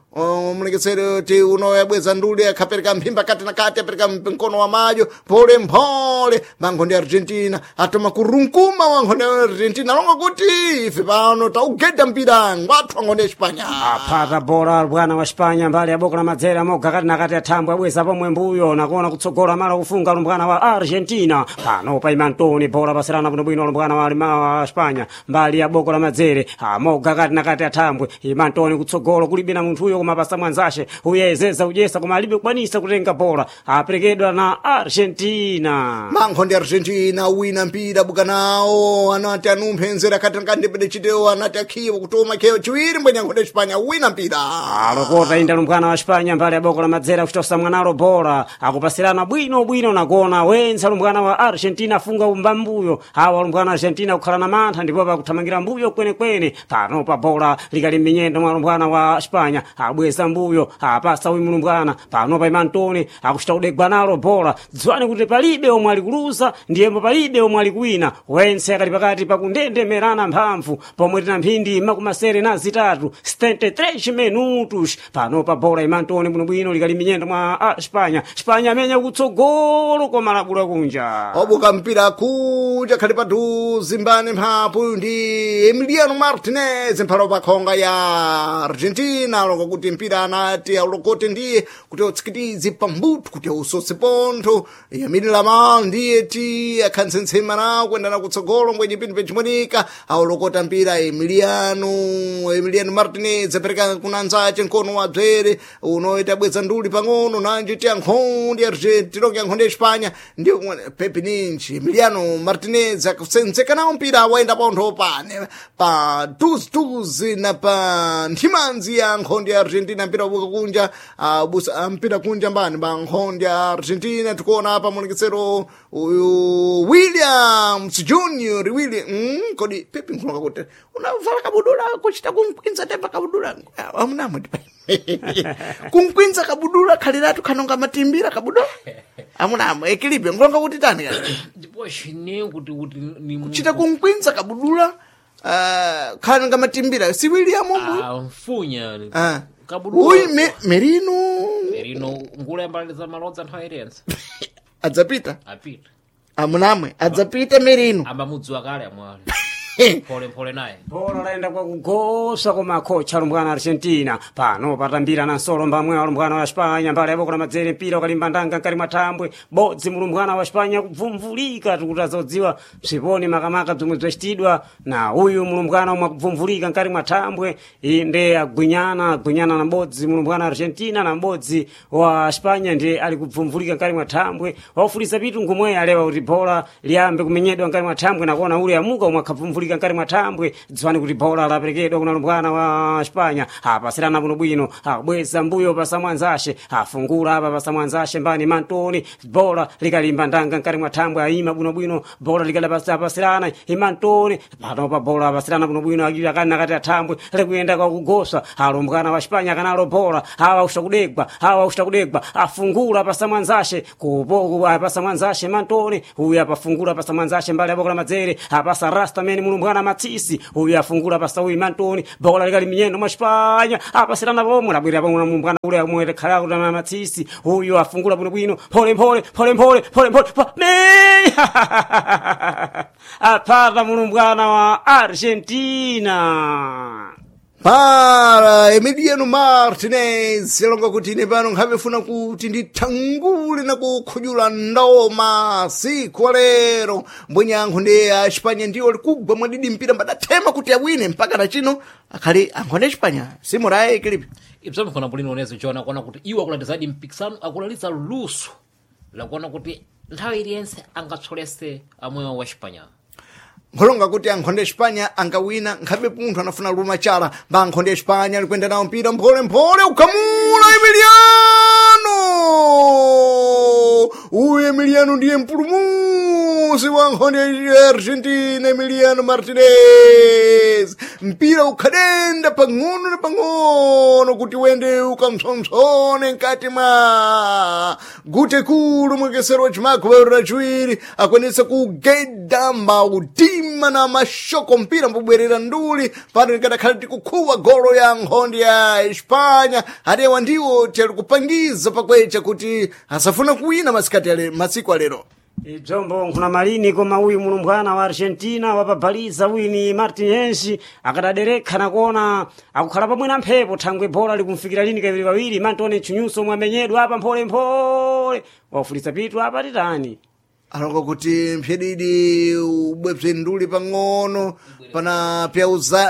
mulekesere ti uno yabweza nduli akhapereka mphimba kati na kati apereka mkono wa madyo mphole mphole mankhondi ya Argentina atoma kurunkuma wa nkhondi ya Argentina longa kuti ife pano taugeda mpira ngwathu ankhonde ya Espanya. Aphata bola bwana wa Spanya mbali ya boko la madzera moga kati nakati athambwe abweza pomwe mbuyo nakuona kutsogola mala kufunga lumbwana wa Argentina pano pa Imantoni bola pasirana bwinobwino lumbwana wa wa Spanya mbali ya boko la madzere amoga kati nakati athambwe Imantoni kutsogolo kulibe na munthuyo koma pasa mwanzashe uyezeza udyesa koma alibe kukwanisa kutenga bola aperekedwa na Argentina. Mankhondi Argentina wina mpira buka nawo anati anumphenzera kati nakandipede chitewo anati akhiwo kutoma khewo chiwiri mbwenye ankhonde Espanya wina mpira. Alokota inda lumbwana wa Spanya mbali ya boko la madzera kuchitosa mwanalo bola akupasirana bwino bwino nakuona wenza lumbwana wa Argentina afunga umba mbuyo awa lumbwana wa Argentina kukhala na mantha ndipo pakuthamangira mbuyo kwenekwene pano pa bola likali m'minyendo mwa lumbwana wa Spanya abweza mbuyo apasa uyu mlumbwana pano pa Imantoni akuchita kudegwa nalo bola dziwani kuti palibe omwe ali kuluza ndiyembo palibe omwe ali kuwina wense akali pakati pakundendemerana mphamvu pomwe tina mphindi 73 73 minutos pano pa bola Imantoni bwinobwino likali minyendo mwa Spanya Spanya amenya kutsogolo koma labula kunja. Obuka mpira kuja khali padhuze mbani mphapu ndi Emiliano Martinez mphalo pa khonga ya Argentina alonga kuti mpira anati aulokote ndiye kuti utsikitize pambuto kuti ausose pontho Yamini Lamal ndiye ti akhantsensema nawo kuendana kutsogolo mbwenye pinthu pechimonika aulokota mpira Emiliano Martinez apereka kuna anzace mkono wa bzere unoita bweza nduli pang'ono nanji ti ankhondi Argentina ya nkhondi ya Espanya ndiyo Pepe Ninji Emiliano Martinez akusenzeka nawo mpira waenda pontho pane pa tuzi na pa nthimanzi ya nkhondi ya Argentina mpira ubuka kunja busa mpira kunja mbani ba nkhondi ya Argentina tikuona apa mulekesero uyu Williams Junior William kodi Pepe nkulonga kuti unavala kabudula kuchita kumkwinza tepa kabudula amunamwe kumkwinza kabudula khaliratu khanonga matimbira kabudula amunamwe ekilibe nkulonga kuti tani kale Ndipo chine kuti ni kuchita kumkwinza kabudula khanonga matimbira si William mbu Ah, mfunya Ah. kabudula uyu Merino. Merino ngula yambalaliza malodza nthawi irense. Adzapita. Apita. Amunamwe adzapita Merino. Ambamudziwa kale amwali mphole mphole naye. Bola laenda kwakugosa koma kocha lumbwana Argentina pano patambira na nsolo mbamwe wa lumbwana wa Spanya mbali yaboko la madzere mpira ukalimba ndanga nkali mwa thambwe bodzi mulumbwana wa Spanya kubvumvulika tikuti azodziwa bziponi makamaka bzomwe bzacitidwa na uyu mulumbwana omwe akubvumvulika nkali mwa thambwe inde agwinyana na bodzi mulumbwana wa Argentina na m'bodzi wa Spanya ndiye ali kubvumvulika nkali mwa thambwe waufulisa pitu ngumwe alewa kuti bola liyambe kumenyedwa nkali mwa thambwe nakuona ule amuka omwe akhabvumvulika. Kulika nkati mwa thambwe, dziwani kuti bola laperekedwa kuna lumbwana wa Spanya. Apasirana bwinobwino, abweza mbuyo pasa mwanzashe, afungula apa pasa mwanzashe mbani Mantoni, bola likalimba ndanga nkati mwa thambwe, aima bwinobwino, bola likalapasirana Imantoni, panopa bola apasirana bwinobwino, akili akani nakati athambwe likuyenda kwa kugosa, alumbwana wa Spanya kanalo bola, awa ushakudegwa, awa ushakudegwa, afungula pasa mwanzashe, kupo apasa mwanzashe Mantoni, uyu apafungula pasa mwanzashe mbali abokola madzere, apasa rasta mene mulumbwana Matsisi, uyu afungula pasa uyu Mantoni, bola likali minyendo mwa Spanya, apasirana pomwe labwera pomwe mulumbwana ule amwe khala kuti Matsisi, uyu afungula bwinobwino, pole pole pole pole pole pole pa- me apata mulumbwana wa Argentina. Para Emiliano Martinez alonga kuti ine pano nkhamefuna kuti ndithangule na kukhujula ndoma siku lero mbwenyankho ndi a Espanya ndiwo likugwa mwadidi mpira mbadathema kuti awine mpaka na chino akhali ankho ndi Espanya simurayi kilipi Ibzomkhona bulino unezo chona kuona kuti iwo akulandizadi mpikisano akulalitsa luso lakuona kuti nthawi iliyonse angatsolese amwewo wa Espanya. Nkholonga kuti ankhonde Espanya angawina nkhabe munthu anafuna luma chala mba ankhonde Espanya alikwenda nawo mpira mpholemphole ukamula Emiliano uyu Emiliano ndiye mpulumusi wa nkhonde ya Argentina Emiliano Martinez mpira ukhadenda pang'ono na pang'ono kuti wende ukamsomsone mkati mwa gute kulu mwekesero wa chimako rachiwiri akwanisa kugeda mautima na mashoko mpira mbubwerera nduli pano likadakhala tikukhuwa golo ya nkhondo ya Espanya atewa ndiwo tiyali kupangiza pakwecha kuti asafuna kuwina masikati ale masiku alero Ibzombo nkhuna malini koma uyu mulumbwana wa Argentina wapabhaliza uyu ni Martinez akadaderekha nakuona akukhala pamwe na mphepo thangwe bola likumfikira lini kaviri kawiri Mantoni Chunyuso omwe amenyedwa apa mpholemphole wafulitsa pitu apa titani alonga kuti mphyedidi ubwebze nduli pang'ono pana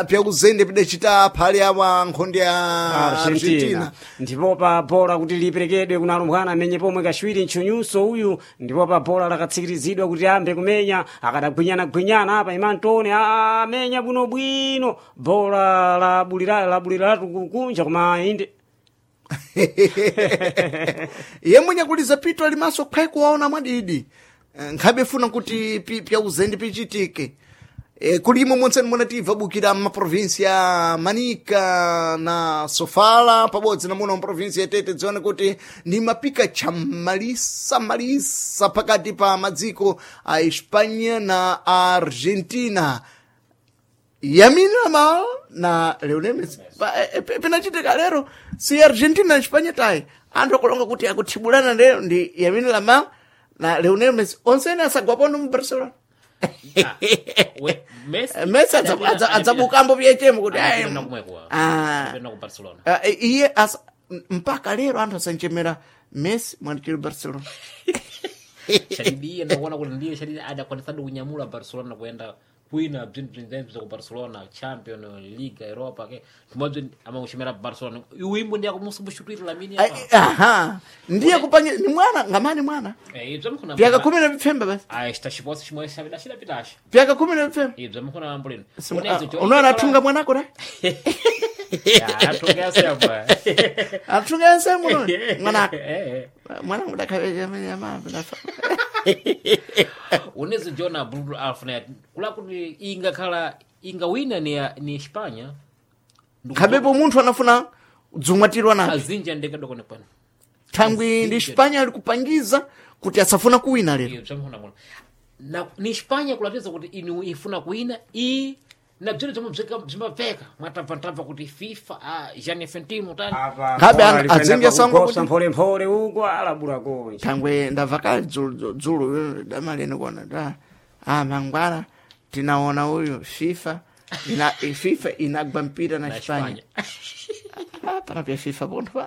pyauzende pidacita phali awa nkhondo ya Argentina Argentina ndipo pa bola kuti liperekedwe kuna alumbwana amenye pomwe kachiwiri mchunyuso uyu ndipo pa bola lakatsikirizidwa kuti ambe kumenya akadagwinyana-gwinyana apa Imantoni amenya bwinobwino bola labulira labuliratu kunja koma inde iye mwenye kuliza pitu alimaso khwe kuwaona mwadidi. Nkhabe funa kuti pyauzende pichitike. Kulimo monse munativa bukira maprovinsi ya Manica na Sofala pabodzi na muno mprovinsi ya Tete dzione kuti ndi mapika chamalisa malisa pakati pa madziko a Espanya na Argentina. Yamin Yamal na Lionel Messi pinachitika lero si Argentina na Espanya tayi anthu akulonga kuti akuthibulana lero ndi Yamin Yamal na Lionel Messi onse ene asagwapondo mu Barcelona. Messi Messi adzabukambo pyechemo kuti ayi, anapita kumweko ah, anapita ku Barcelona. ah, iye mpaka lero anthu asanchemera Messi mwandikiri Barcelona. Shadidi iye ndakuona kuti ndiye Shadidi adakwanisadi kunyamula Barcelona kuyenda kwina bzinthu bzinzebzo ku Barcelona Champion Liga Europa ke tumodzi amakuchimera Barcelona uwimbo ndiye akumusubushutwira Lamine Ai, apa aha ndiye kupanya ni mwana ngamani mwana eh ibzo mkhona pyaka 15 basi ah chitachiposi chimwe chabida chidapitacho pyaka 15 ibzo mkhona mambo lino unaona athunga mwanako da athunga yasema athunga yasema unaona mwanako eh mwanangu dakhabeja unezo jona Bruno Alfred kula kuti ingakhala ingawina ni Espanya khabepo munthu anafuna dzumwatirwa napo azinja ndekadokone kwanu thangwi ndi Espanya ali kupangiza kuti asafuna kuwina lero iyo bzamkhona muno na ni Espanya kulatiza kuti inu ifuna kuwina i na bzino zomwe bzimapfeka mwatabvatabva kuti FIFA ah, Gianni Infantino tani apa Ngabe bola likwenda adzinge sango pakugosa kuti- mpholemphole uko alabula konja thangwe ndabva kale dzulu dzulu damaleni kuona da ah mangwana tinaona uyu FIFA ina FIFA inagwa mpira na na Espanya Espanya ah pana pya FIFA pontho pa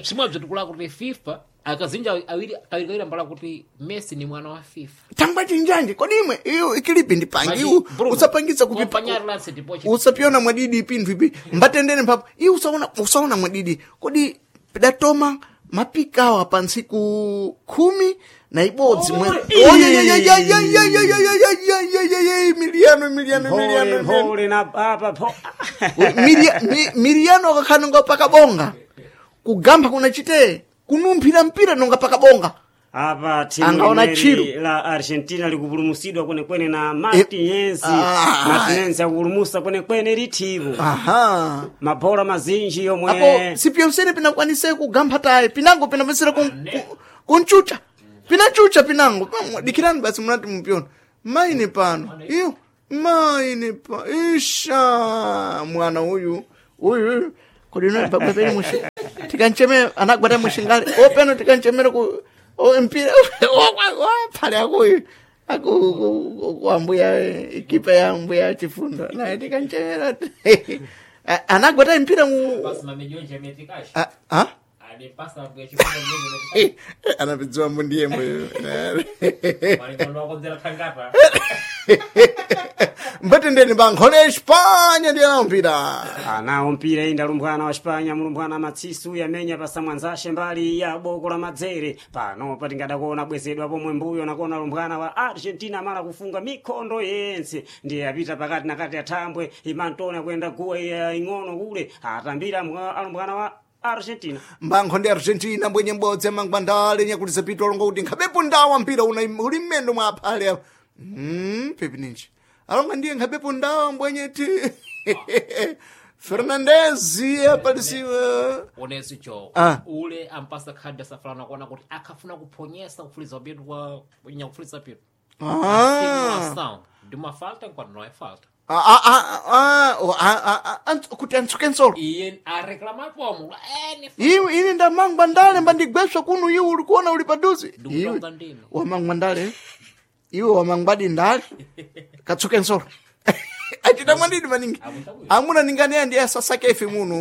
simwe bzitikula kuti FIFA akazinja awiri kawiri kawiri ambala kuti Messi ni mwana wa FIFA thangwe chinjanje kodi imwe iyo ikilipi ndipangi Maji, iwu Bruno, usapangisa kupipa kompanyari lance ndipo usapiona mwadidi pinthu ipi mbatendene mphapo iwe usaona mwadidi kodi pidatoma Mapikawa pa ntsiku 11 mwe Emiliano, Emiliano, Mphole Emiliano. mphole na apa pho. Miriano akakhala nonga pakabonga kugamba kuna chite kunumphira mpira nonga pakabonga. Apa timu Angaona limweri chiru. la Argentina likupulumusidwa kwenekwene na Martinez. Ah. Martinez akupulumusa kwenekwene litimu. Aha. Mabhola mazinji yomwe Apo sipyonsene pinakwanise kugamba tayi pinango pinapesera kunchucha pinachucha pinango. Pamwe, dikirani basi munati mupyona maine pano iyo maine pa isha mwana uyu uyu kodi bagwapeni mushi tikancheme anagwata mushingale openo tikanchemere ku o mpira phale akuyu aku kuambuya ikipa ya mbuya chifundo naye tikanchemera anagwata mpira mu Basi mamejonje ametikashi. Ah, ah? Alipasa mbuya chifundo mjengo Anapidziwa mbundiyembo. Walikuwa wakonzera tangata. Mbatendeni bankhole Espanya ndiye mpira. Anawo mpira inda lumbwana wa Spanya, mulumbwana matsisu yamenya pasamwanzashe mbali ya boko la madzere. Pano patingadakuona bwezedwa pomwe mbuyo nakuona lumbwana wa Argentina mala kufunga mikhondo yense, ndiye apita pakati na kati ya thambwe imantona kuyenda guwa iya ing'ono kule atambira alumbwana wa Argentina. Mbankho ndi Argentina mbwenye mbodzi amangwandale nyakulisa pitu alonga kuti nkhabepo ndawa mpira una uli mmendo mwa aphale apo. Pepi ninji alonga ndiye nkhabepo ndawa mbwenye ti Fernandez apalisiwa. Oneso cho. Ah. Ule ampasa khadi asafalana kuona kuti akafuna kuphonyesa kufuliza pitu kwa nyakufuliza pitu. Ah. Sound. Ndima falta nkwati no é falta. Ah, ah, ah, ah, oh, ah, ah, ah, kuti antsuke nsolo. Iye areclamar pomo. Eh, ni Iwe ine ndamangwa ndale mbandigweswa kuno iwe uli kuona uli paduze. Iwe Ndikutonga ndine. wamangwa ndale. Iwe wamangwadi ndale. Katsuke nsolo. Achita mwandidi maningi. Amuna ningani ndiye sasake ife muno.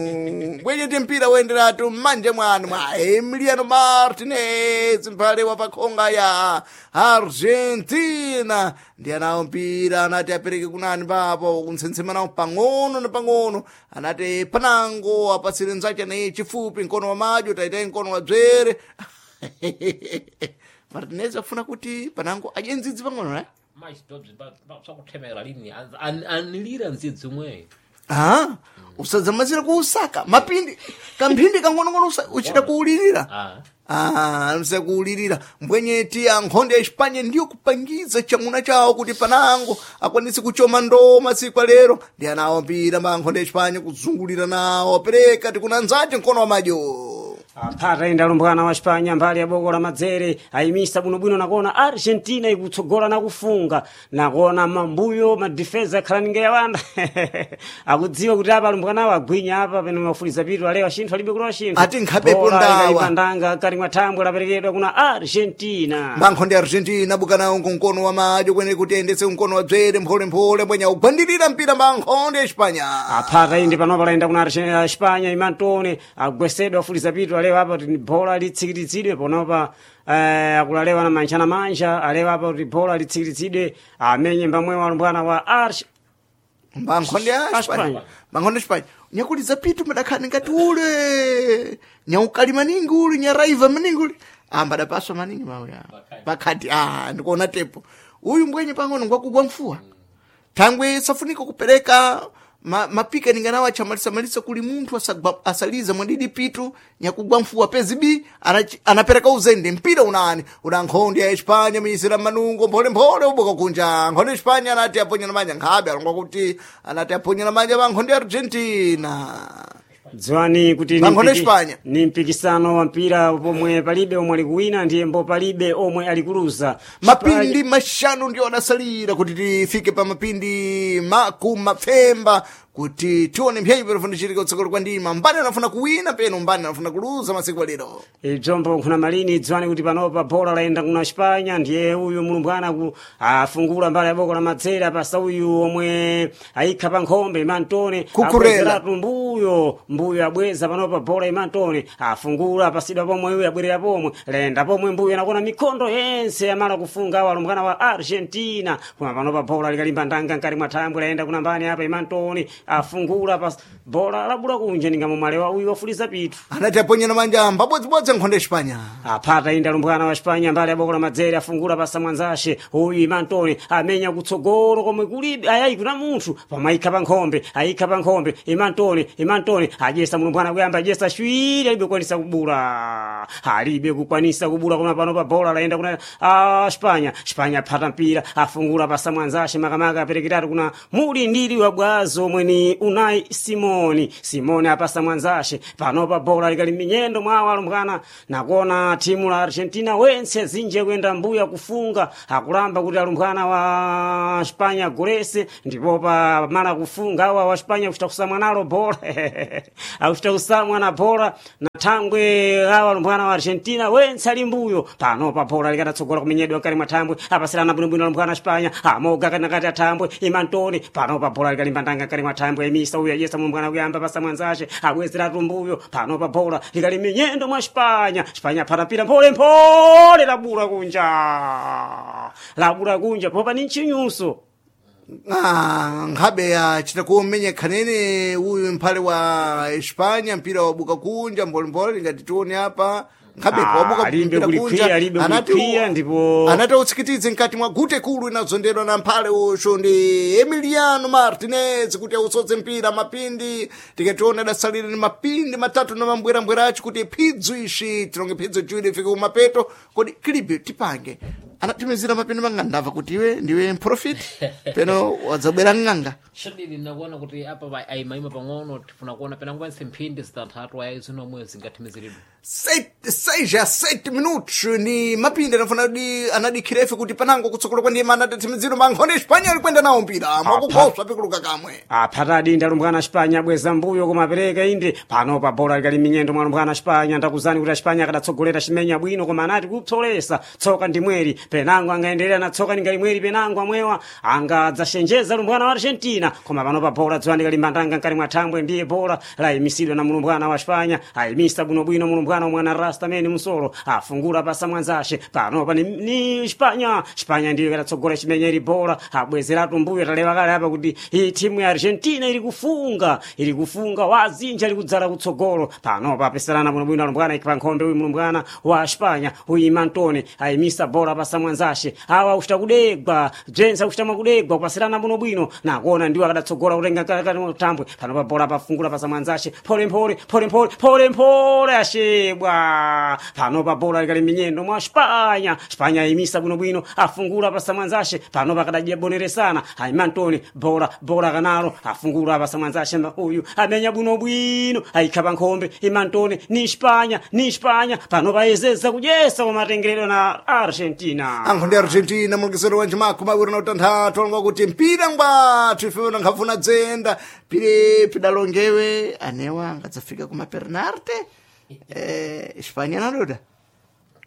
Bwenye ti mpira woenderatu mmanje mwanu mwa Emiliano Martinez mphale wa pakhonga ya Argentina. Ndiye anawo mpira anati apereke kunani papo kuntsensema nawo pang'ono na pang'ono anati panango apatsire nzache naye chifupi mkono wa madyo taitaye mkono wa dzere. Martinez afuna kuti panango adye ndzidzi pang'ono ne? Mais todos só lini anilira nzidzi umwe. Ah, usadzamazira kuusaka mapindi kamphindi kang'onong'ono uchita kuulirira. Ah. Ah, msa kuulirira mbwenyeti ankhonde ya Espanya ndiyo kupangiza chamuna chawo kuti panango akwanise kuchoma ndoo masiku alero ndi anawo mpira ma ankhonde ya Espanya kuzungulira nawo apereka tikunanzache mkono wa madyo. Aphata inda lumbwana wa Spanya mbali ya boko la madzere ayimisa bwinobwino nakuona Argentina ikutsogola na kufunga nakuona mambuyo madifensa akhala ninge yawanda akudziwa kuti apa alumbwanawo agwinya apa pene mafuliza pitu alewa xinthu alibe kulowa xinthu. Ati nkhabepo Bola ndawa. ikalipa ndanga kali mwa thambwe laperekedwa kuna Argentina. Mankho ndi Argentina bukanawo kumkono wa madyo kwene kuti ayendetse mkono wa dzere mpholemphole mbwenya ugwandirira mpira mankho ndi Espanya. Aphata indi panopa layenda kuna Espanya imantone agwesedwa afuliza pitu alewa apa kuti bola litsikiritsidwe ponopa akulalewa na manja na manja alewa apa kuti bola litsikiritsidwe amenye mbamwewo alumbwana wa Arge Mankho ndi Espanya. Espanya. Mankho ndi Espanya. Nyakuti zapitu madakhani ngati ule nyaukali maningi ule nyaraiva maningi ule ambadapaswa maningi mauya pakhati ah ndikuona tepo uyu mbwenye pang'ono ngwakugwa mfuwa thangwe safunika kupereka mapika ninganawo achamalisamalisa kuli munthu asaliza mwadidi pitu nyakugwa mfuwa pezi b anapereka uzende mpira unani una nkhondi ya Espanya miyisira manungo mpholemphole uboka kunja nkhondi ya Espanya anati aponyana manja nkhabe alonga kuti anati aponyana manja pa nkhondi ya Argentina. Dziwani kuti ni Mankhondo Espanya. ni mpikisano wa mpira pomwe palibe omwe ali kuwina ndiye mbo palibe omwe ali kuluza. Mapindi mashanu ndio adasalira kuti tifike pa mapindi makumapfemba kuti tione mphenyi panofunika kutsogolo kwa ndima mbani anafuna kuwina peno mbani anafuna kuluza masiku alero. Ibzombo nkhuna malini dziwani kuti panopa bola layenda kuna Espanya ndiye uyu mulumbwana ku afungula mbali ya boko la madzere pasa uyu omwe ayikha pa nkhombe imantone Kukurela. abwezeratu mbuyo mbuyo abweza panopa bola imantone afungula pasidwa pomwe uyu abwerera pomwe layenda pomwe mbuyo anakona mikhondo yense amala kufunga awo alumbwana wa Argentina koma panopa bola likalimba ndanga nkati mwa thambwe layenda kuna mbani apa imantone afungula pas Bola labula kunja ninga momwalewa uyu wafuliza pitu. Anati aponyana manja mbabodzibodzi nkhonde Espanya. Aphata inda alumbwana wa Espanya mbali abokola madzere afungula pasa mwanzashe uyu Imantoni amenya kutsogolo komwe kulibe ayayi kuna munthu pamwe ayikha pa nkhombe, ayikha pa nkhombe Imantoni, Imantoni adyesa mulumbwana kuyamba adyesa shwiri, alibe kukwanisa kubula, alibe kukwanisa kubula. Koma pano pa bola layenda kuna Espanya. Espanya aphata mpira afungula pasa mwanzashe makamaka aperekeratu kuna mulindiri wa bwazo mweni Unai Simoni. Simoni apasa mwanzashe, panopa bola likali minyendo mwawo alumbwana, nakuona timu la Argentina wense zinje kuyenda mbuya kufunga akulamba kuti alumbwana wa Espanya golese, ndipo pa mala kufunga awa wa Espanya kuchita kusamwa nalo bola akuchita kusamwa na bola na thangwe awa alumbwana wa Argentina wense ali mbuyo. Panopa bola likatatsogola kumenyedwa mkati mwa thambwe, apasilana bwinobwino alumbwana wa Espanya amoga kanakati athambwe Imantoni. Panopa bola likalimba ndanga mkati mwa thambwe, emisa uyu ayesa mulumbwana kuyamba pasa mwanzace abwezeratu mbuyo. Panopa bola likali minyendo mwa Espanya. Espanya phata mpira mpole mpole labula kunja, labula kunja popa ni nchinyuso. Nkhabe achita kumenya khanene uyu mphale wa Espanya, mpira wabuka kunja mbolembole ngati tione apa nkhabe wabuka alibe mpira kulikwiya, kunja. alibe Anati kulikwiya, ndipo- anati utsikitidze mkati mwa gute kulu inazondedwa na mphale ucho ndi Emiliano Martinez kuti ausodze mpira mapindi. Tikationa adasalira ni mapindi matatu na mambwerambwera acho kuti phidzo ishi tilonge phidzo chiwiri ifike kumapeto. Kodi kilibe tipange anatimizira mapindi manga ndamva kuti iwe ndiwe mprofiti peno wadzabwera ng'anga. Shadidi nakuona kuti apa ayimayima pang'ono, tifuna kuona penango panse mphindi zitanthatu ayayi zinomwe zingathimiziridwe. 6 a 7 minutos ni mapindi anafuna di anadikhira ife kuti panango kutsogolo kwa ndima anatatsimiziro mankhonde Espanya ali kwenda nawo mpira mwakukhoswa pikuluka kamwe. Aphata adinda alumbwana Espanya abweza mbuyo koma apereka inde. Panopa bola likali minyendo mwa alumbwana Espanya, ndakuzani kuti Espanya akadatsogolera chimenya bwino koma anati kupsolesa tsoka ndi mweri penango angaendelera na tsoka ningali mweri penango amwewa angadzashenjeza alumbwana wa Argentina. Koma panopa bola dziwani kalimbandanga mkati mwa thambwe, ndiye bola layimisidwa na mulumbwana wa Espanya, ayimisa bwinobwino mulumbwana wa mwana Rasta mene musolo afungula pasa mwanzashe. Panopa ni Espanya. Espanya ndiyo ikadatsogolera chimenya ili bola abwezeratu mbuyo. Talewa kale apa kuti iyi timu ya Argentina iri kufunga, iri kufunga wazinja iri kudzala kutsogolo. Panopa apeserana bwinobwino alumbwana ikpa nkhombe uyu mulumbwana wa Espanya uyu Imantoni ayimisa bola pasa mwanzashe awa akuchita kudegwa bzense akuchita makudegwa kupasirana bwinobwino nakuona ndiwo akadatsogola kutenga tambwe. Panopa bola pafungula pasa mwanzashe pole mpole pole mpole pole mpole ashebwa. Panopa bola likali minyendo mwa Espanya. Espanya ayimisa bwinobwino afungula pasa mwanzashe, panopa akadadya boneresana Aimantoni bola bola kanalo afungula pasa mwanzashe uyu amenya bwinobwino ayikhapa nkhombe Imantoni ni Espanya, ni Espanya. Panopa ayezeza kudyesa kumatengeredwa na Argentina. Ankhonde Argentina mulekesero wa njimakho mawiri na utanthatu alonga kuti mpira ngwathu ife nankhafuna dzenda pire pidalongewe anewa angadzafika kuma pernarte Espanya nadoda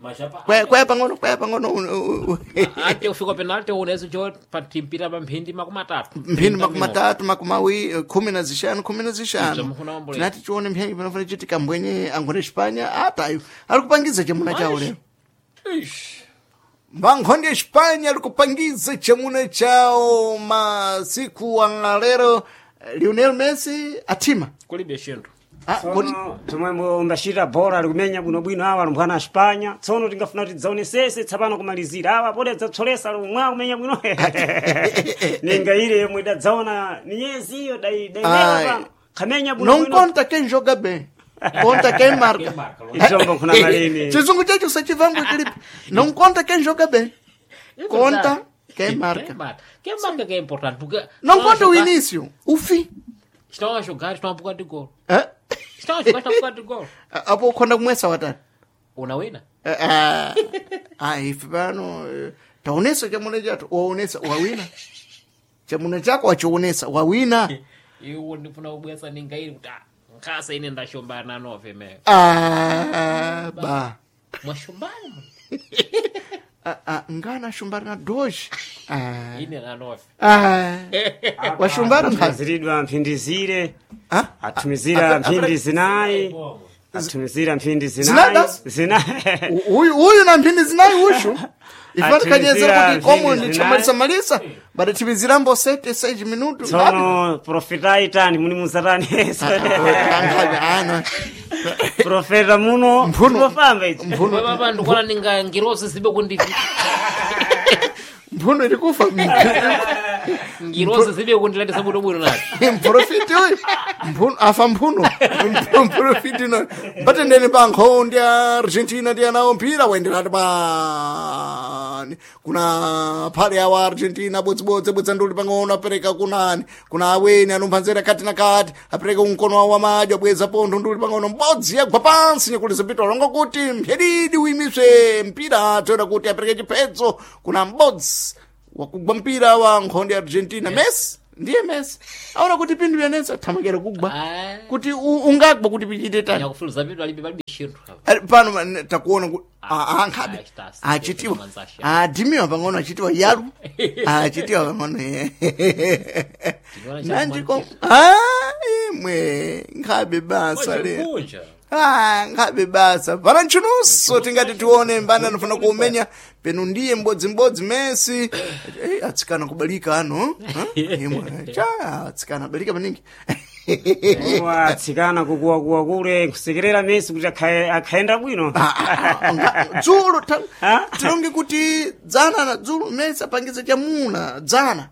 Machapa kwaya kwaya pang'ono kwaya pang'ono ate ufika penalty unezo jo patimpira pa mphindi 30. Mphindi 30 makumawi 15 15. Mfuna wambolera. Tinati tione mphenyi panofuna chitika mbwenye ankhonde Espanya atayo ali kupangiza chamuna chawo lero. Vankhonde Espanya ali kupangiza chamuna chawo masiku angalero. Lionel Messi atima. Kulibe shinthu. Ah, kodi Tsono tomwe mbachita bola ali kumenya bwinobwino awa alumbwana a Espanya. Tsono tingafuna kuti tidzaonesese tsapano kumalizira awa pode adzapsolesa lomwe akumenya bwino ninga ile yomwe idadzaona minyezi iyo dailewa Ai. pano kamenya non bwinobwino. conta quem joga bem, conta quem marca. Ichombo kuna malini. Chizungu chacho sachivangwe kilipo. Não conta quem joga bem, conta quem marca. Quem marca que é importante porque Não conta o início, o fim. Estão a jogar, estão a pouco de gol. Eh? Estão a jogar, estão a pouco de gol. Apo ukhonda kumwesa watani. Unawina. Ah, ife pano taonesa chamuna chato waonesa wawina chamuna chako wachionesa wawina. Iwo ndifuna kubwesa ninga ili kuti nkhasa ine ndashombana nove me. Ah, ba Mwashombana Ah, ah, ngana ashumbana na doji. Ah, ine nanove. ah, washumbana nkhazi. Atumizidwa mphindi zire Ah? atumizira mphindi zinayi. Atumizira mphindi Zinayi zinayi. basi? Zinayi. Uyu uyu na mphindi zinayi ushu ifatikanyezera Atimizira kuti komo mphindi ndichamalisa malisa badatimizira sete seji minutu Tsono profeta itani muni muzatani. ano Profeta muno Mphuno. Mpofamba ichi. mphuno Papa ndikuona ninga ngirozi zibe kundi mphuno iri kufa ngirozi zibe kundilatisa bwino bwino nati. mprofiti uyu Mphuno- afa mphuno mprofiti no batendeni pa nkhondi ya argentina ndiyanawo mpira waenderati pani kuna phale awa argentina bodzibodzi bodza nduli pang'ono apereka kunani kuna aweni anumphanzera kati na kati apereka kumkono wawo wamadyo abweza pontho nduli pang'ono mbodzi yagwa pansi nyakuliza pito longo kuti mphedidi uyimiswe mpira toera kuti apereke chiphedzo kuna mbodzi wakugwa mpira wa nkhondi ya argentina messi ndiye messi aona kuti pindu yanetsa thamakera kugwa Ah. kuti ungagwa kuti pichite tani Nyakufuluza vitu alibe palibe chinthu apa. Ali pano takuona ankhabe Ah, achitiwa manzasha. adimiwa pang'ono achitiwa yalu achitiwa pang'ono Tinoona cha nanjiko imwe nkhabe basa le Kunja. Ah, nkhabe basa pana ntchununso tingati tione mbani anofuna kuumenya penu ndiye mbodzimbodzi Messi Eh, atsikana kubalika ano imwe cha atsikana abalika maningi Watsikana kukuwakuwa kule kusekerera Messi kuti akhaenda bwino. dzulo Ah? tilonge kuti dzana na dzulo Messi apangiza chamuna dzana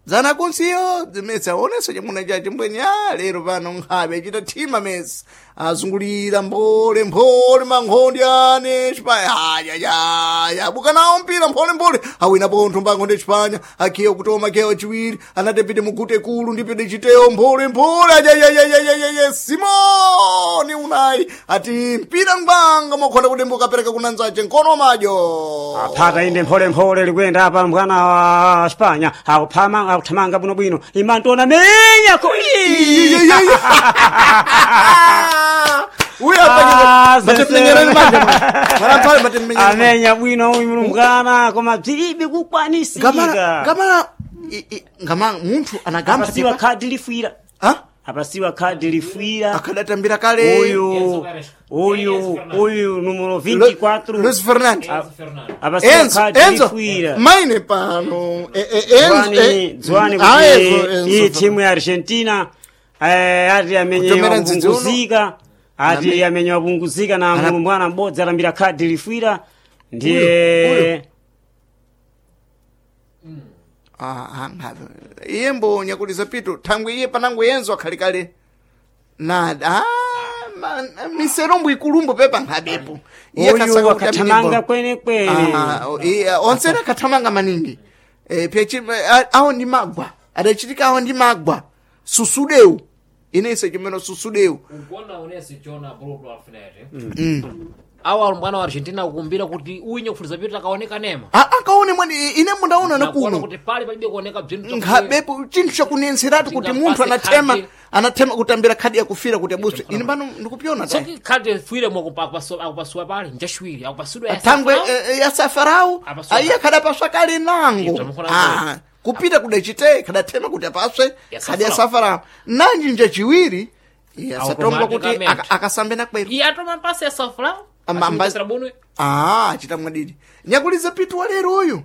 dzana kunsiyo Messi aonesa chamuna chache mbweni a lero pano nkhabe achita thima Messi azungulira mphole mphole mankhondi ane chipanya ayayaya abuka nawo mpira mphole mphole awina pontho mbankhonde chipanya akhiya kutoma khiya wachiwiri anati pite mugute kulu ndipite chiteyo mphole mphole ayayayayayaya simoni unayi ati mpira ngwanga mokhonda kudembuka apereka kunanzache nkono madyo Aphata inde mpholemphole likwenda apa mbwana wa Spanya akuphama akuthamanga bwinobwino imantona menya koi. uyo Ah, matemenyerani manje mwana matemenyerani Amenya bwino uyu mulumbwana koma bzilibe kukwanisika. ngamala ngama munthu anagamba Apasiwa khadi lifwira. ha Apasiwa khadi lifwira. akadatambira kale Uyu uyu uyu numero 24 Luis Fernandes apasiwa Enzo khadi Enzo lifwira. maine pano Enzo Dzwani ah, Enzo, kuti Enzo iyi timu ya Argentina ati amenye Kutomera ndzidzi uno. wapunguzika ati amenye wapunguzika na mulumbwana m'bodzi atambira khadi lifwira ndiye Ah, ah, ngabe. iye mbonya kuti zapito thangwe iye panango yenzo akhali kale na ah, miserombo ikulumbo pepa nkhabepo Iye uyu khasaka kuti amenye akathamanga bolo. kwenekwene Ah, iye, onse akathamanga maningi awo ndi magwa adachitika awo ndi magwa susudeu inense chimene susudeu Ukuona unesi chona buludu afinete. Awa alumbwana wa Argentina kukumbira kuti uyu nyakufuluza vitu akaoneka nema. Akaone mwani ine mundaona Nakuona nakuno kuti pali palibe kuoneka bzinthu nkhabepo chinthu chakunenseratu kuti munthu anathema Tingapase anathema kutambira khadi yakufira kuti abuswe ine pano ndikupyona tayi. Soki khadi fuire mo akupasuwa pali njachiwiri akupasudwa thangwe ya safarau Apaswa. aiye khadapaswa kale nango Ibzo mukhola Ah, kupita kudachite khadathema kuti apaswe Ya khadi ya Safarau. safarau nanji njachiwiri yasatongwa kuti Automaticamente. akasambe nakwero Iye atoma mpasi ya safra. Amba- Ah, achita mwadidi nyakuliza pitu walero uyu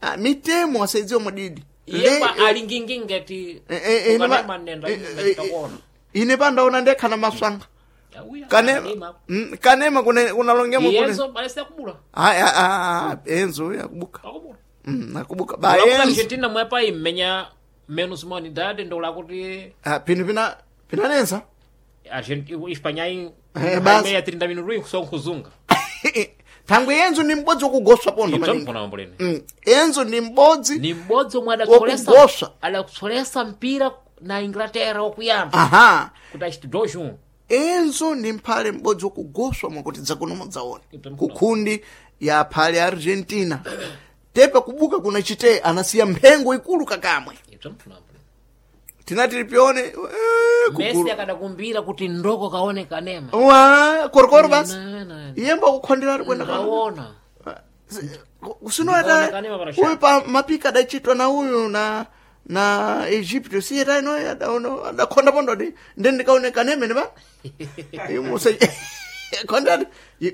Ah, mitemo asaidziwa mwadidi Iye Le- pa alingingi ngati eh, eh, ukanema nenda eh, eh, eh, nditakuona. ine pandaona ndekhana maswanga Auya, kanema anema. kanema kunalongemo kune Iyenzo balese akubula. Ai, ah, ah, ah, enzo uyu akubuka Akubula. Akubuka ba Ulakuti enzo Argentina mwepa imenya menos humanidade ndo lakuti Ah, pino pina pinanensa Argentina Espanha Eh, basi. imenya 30 minutos kusonga kuzunga. Thangwe enzo ni m'bodzi wokugoswa pondo Ibzo maningi mfuna mamboleni. Enzo ni m'bodzi Ni m'bodzi omwe Wokugoswa. adakutsolesa mpira na Inglaterra wokuyamba aha kuti achiti 2-1. Enzo ni mphale m'bodzi wokugoswa mwakuti dzakuno mudzaona Ibzo mfuna. kukhundi ya phale Argentina tepa kubuka kuna chite anasiya mphengo ikulu kakamwe Ibzo mfuna mamboleni. tinati tipione Messi kukulu akadakumbira kuti ndoko kaone kanema. wa korokoro basi Na, na, na. iyembo akukhonderatu kwenda ka Kaona. kusinoata Kanema parasha. uyu pa mapika adachitwa na uyu na na Egipto siyeta ino adaona adakhonda pondo ti ndi ndikaoneka nemene pa imusa khonda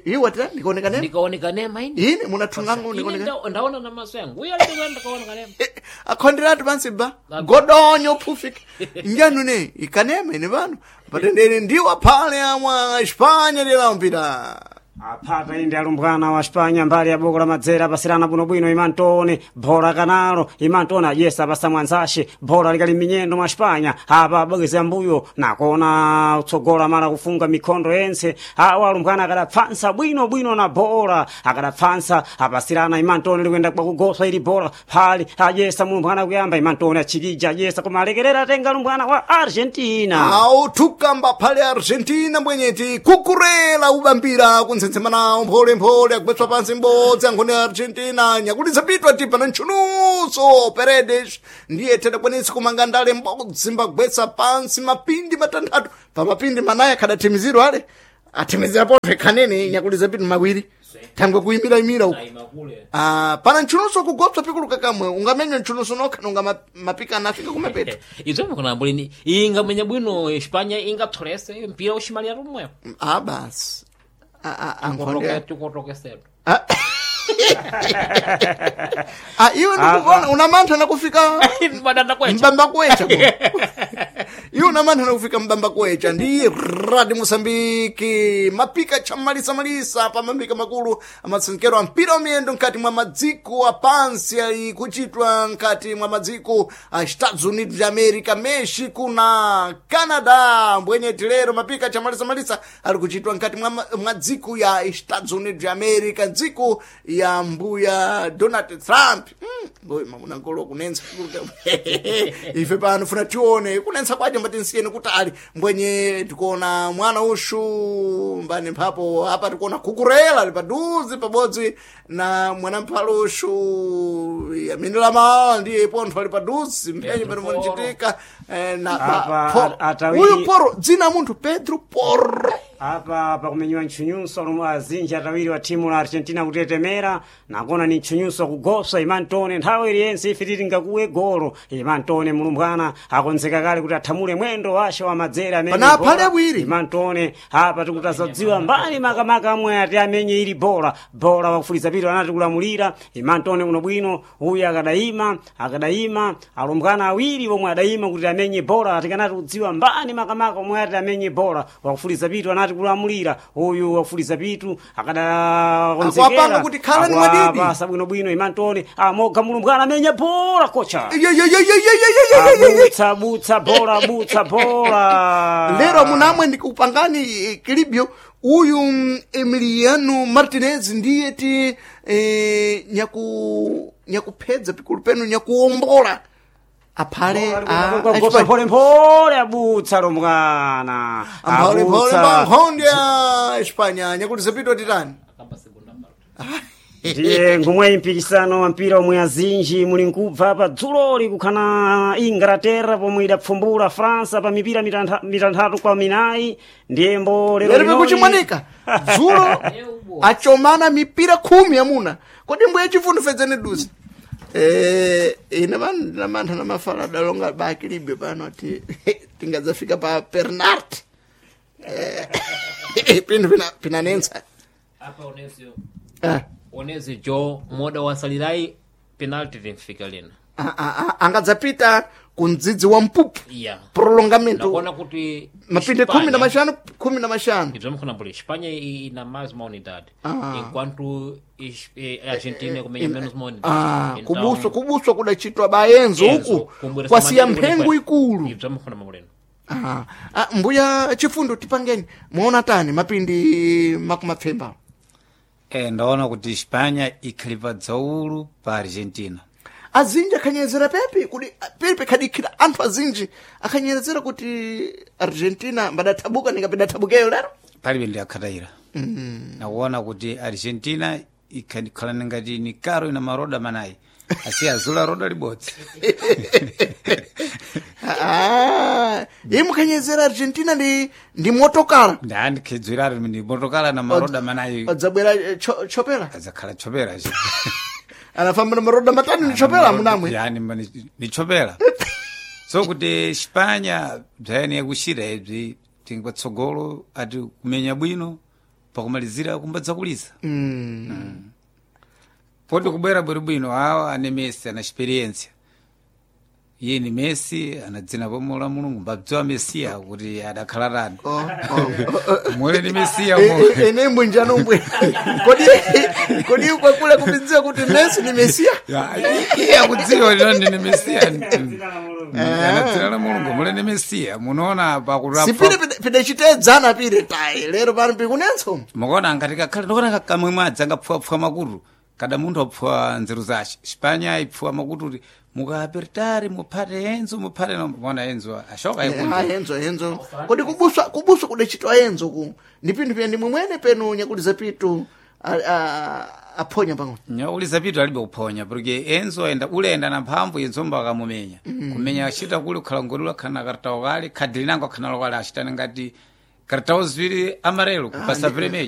iwa tira ndikaoneka neme ndikaoneka nema ine ine munathungango Ine ndikaoneka ndaona na maso yangu uyo alikuwa ndikaoneka nema akhonderatu pansi ba godonyo phufika njanu ne ikanema ine pano patendere ndiwo aphale amwa Espanya lilambira Aphata inde alumbwana wa Spanya mbali ya boko la madzera apasirana bwinobwino imantone bhola kanalo imantone ajesa apasa mwanzashe bhola likali minyendo mwa Spanya apa abwekeza mbuyo nakona utsogola mala kufunga mikhondo yense awa alumbwana akadapfansa bwinobwino na bhola akadapfansa apasirana imantone likuyenda kwakugoswa ili bhola phali ajesa mulumbwana kuyamba imantone achikija ajesa koma alekerera atenga alumbwana wa Argentina Au tukamba phale Argentina mbwenyeti kukurela ubambira kuntsentsemanawo mpholemphole akupetswa pansi mbodzi ankhoni ya Argentina nyakulitsa pitwa tipa na ntchunuso Paredes ndiye tedakwanitsa kumanga ndale mbodzi mbagwetsa pansi mapindi matanthatu pa mapindi manayi akhadathimiziro ale athimizira potho ikhanene nyakulitsa pitu mawiri thangwe kuyimira-imira uku Aimakule. Ah, pana ntchunuso kugopsa pikuluka kamwe ungamenywa ntchunuso nokha nunga mapikana afika kumapeto Izo mukona mbulini ingamenya bwino Espanya ingatholese mpira ushimalira rumwepo ah basi Ah, ah, ankhonde tikotokesedwa Ah. Ah, iwe ndikuona unamantha nakufika madanda kwecha mbamba kwecha ko. iwe unamantha nakufika mbamba kwecha ndi radi mosambiki mapika chamalisamalisa pa mambika makulu amatsenkero a mpira wa miyendo mkati mwa madziko apansi ali kuchitwa mkati mwa madziko a Estados Unidos de America Mexico na Canada mbwenyeti lero mapika chamalisamalisa ali kuchitwa mkati mwa, mwa dziko ya Estados Unidos de America dziko ya mbuya Donald Trump ngoyi mamuna nkolo kunensa ife pano funa tione kunensa kwaje mbati nsiyeni kutali mbwenye tikuona mwana ushu mbani mphapo apa tikuona kukurela ali paduze pabodzi na mwana mphalo ushu yamene ndiye pontho ali paduze mphenye Pedro pano Porro. munachitika na Apa, atawiri- uyu poro dzina munthu Pedro Porro apa pakumenyiwa ntchunyunso lomwe azinji atawiri wa thimu la argentina kutetemera nakona ni ntchunyunso kugoswa imantone nthawi iliyense ife titi ngakuwe golo imantone mulumbwana akonzeka kale kuti athamule mwendo wace wa madzere amene Pana bola. aphale awiri. imantone apa tikutazadziwa mbali makamaka amwe ati amenye ili bola bola wakufuliza pito anati kulamulira imantone uno bwino uyu akadayima akadayima alumbwana awiri omwe adayima kuti amenye bola tikanati kudziwa mbani makamaka omwe ati amenye bola wakufuliza pitu anati kulamulira uyu wakufuliza pitu akadakonzekera Akuwapanga kuti khalani mwadidi. Akuwapasa bwinobwino imantone amoga mulumbwana amenye bola kocha Ye, ye, ye, ye, ye, ye, ye, ye, ye, ye. abutsa butsa bola butsa bola lero munamwe ndikupangani kilibyo uyu Emiliano Martinez ndiye ti nyakuphedza pikulu penu nyakuwombola aphale Gosa mpholemphole abutsa lomwana ampholemphole pankhondo ya Espanya nyakuti zapitwa titani akamba segunda parte ndiye ngomwe mpikisano wa mpira omwe azinji muli nkubva pa dzuloli kukhana inglaterra pomwe idapfumbula fransa pa mipira mitanthatu kwa minayi ndiyembo lero lero linoli- pikuchimwanika dzulo achomana mipira 10 amuna kodi mbuye chifundo fedzene duze ine pano ndinamantha na mafala adalonga bakilibe pano ati tingadzafika pa Bernard pinthu pinanensa apa onesio Ah, onesio jo moda wasalirai penalty timfika lina ah, ah, ah, angadzapita ku mdzidzi wa mpupu iya prolongamento nakuona kuti mapinde 15 15 ibzo mkhona mbuli Espanha ina mais uma unidade Ah. enquanto Argentina kumenya menos uma unidade Ah, Então, kubuswa kubuswa kudachitwa bayenzo Enzo, uku kumbweresa kwasiya madini mphengo kuti ikulu ibzo mkhona mbulino Ah, ah, mbuya chifundo tipangeni muona tani mapindi makumapfemba Ndaona kuti Espanya ikhali pa dzaulu pa Argentina azinji akhanyerezera pepi kuti pepe khadikhira anthu azinji akhanyerezera kuti argentina mbadathabuka ningapidathabukeyo lero palibe ndi akhatayira nakuona kuti Argentina ikhalani ngati ni karo ina maroda manayi asi azula roda libodzi Ah, iye mukhanyerezera argentina ndi motokala ndandikhedzweratu ndi motokala na maroda manayi adzabwera chopera adzakhala chopera Anafamba na maroda matano nichopela munamwe. Yani mba nichopela. So kuti Spanya bzayani yakuxira ibzi tingi patsogolo ati kumenya bwino pakumalizira kumbadza kulisa. Poti kubwera bwinobwino awa ane Messi ana experience. Iye ni Messi ana dzina pomwe la Mulungu mbabdziwa Mesiya kuti adakhala tani. Oh, oh. Mule ni Mesiya mo. Ene mbwinjano mbwe. Kodi kodi kwakula kubidziwa kuti Messi ni Mesia? Ya, iye akudziwa lino ndine Mesiya. Ana dzina la Mulungu mule ni Mesiya munoona pakurapa. Sipire pidachitedzana pire tai lero pano pikunenso. Mukaona ngati kakhale ndikuona kamwe mwadzi angapfuwapfuwa makutu kada munthu apfuwa nzeru zace Spanya ipfuwa makutu kuti mukaapertari muphate Enzo muphate mona Enzo ashoka Ah, ikunja Enzo Enzo. Kodi kubuswa kubuswa kudachitwa Enzo ku. Ndi pinthu pya ndimwe mwene penu nyakuliza pitu aphonya pang'ono. Nyakuliza pitu alibe kuphonya porque Enzo enda ulenda na mphamvu Enzo mbakamumenya kumenya achita kuli kukhala ngoti ulakhala na kartawo kale khadi linango akhala nalo kale achitani ngati kartawo ziwiri amarelo kupasa premejo.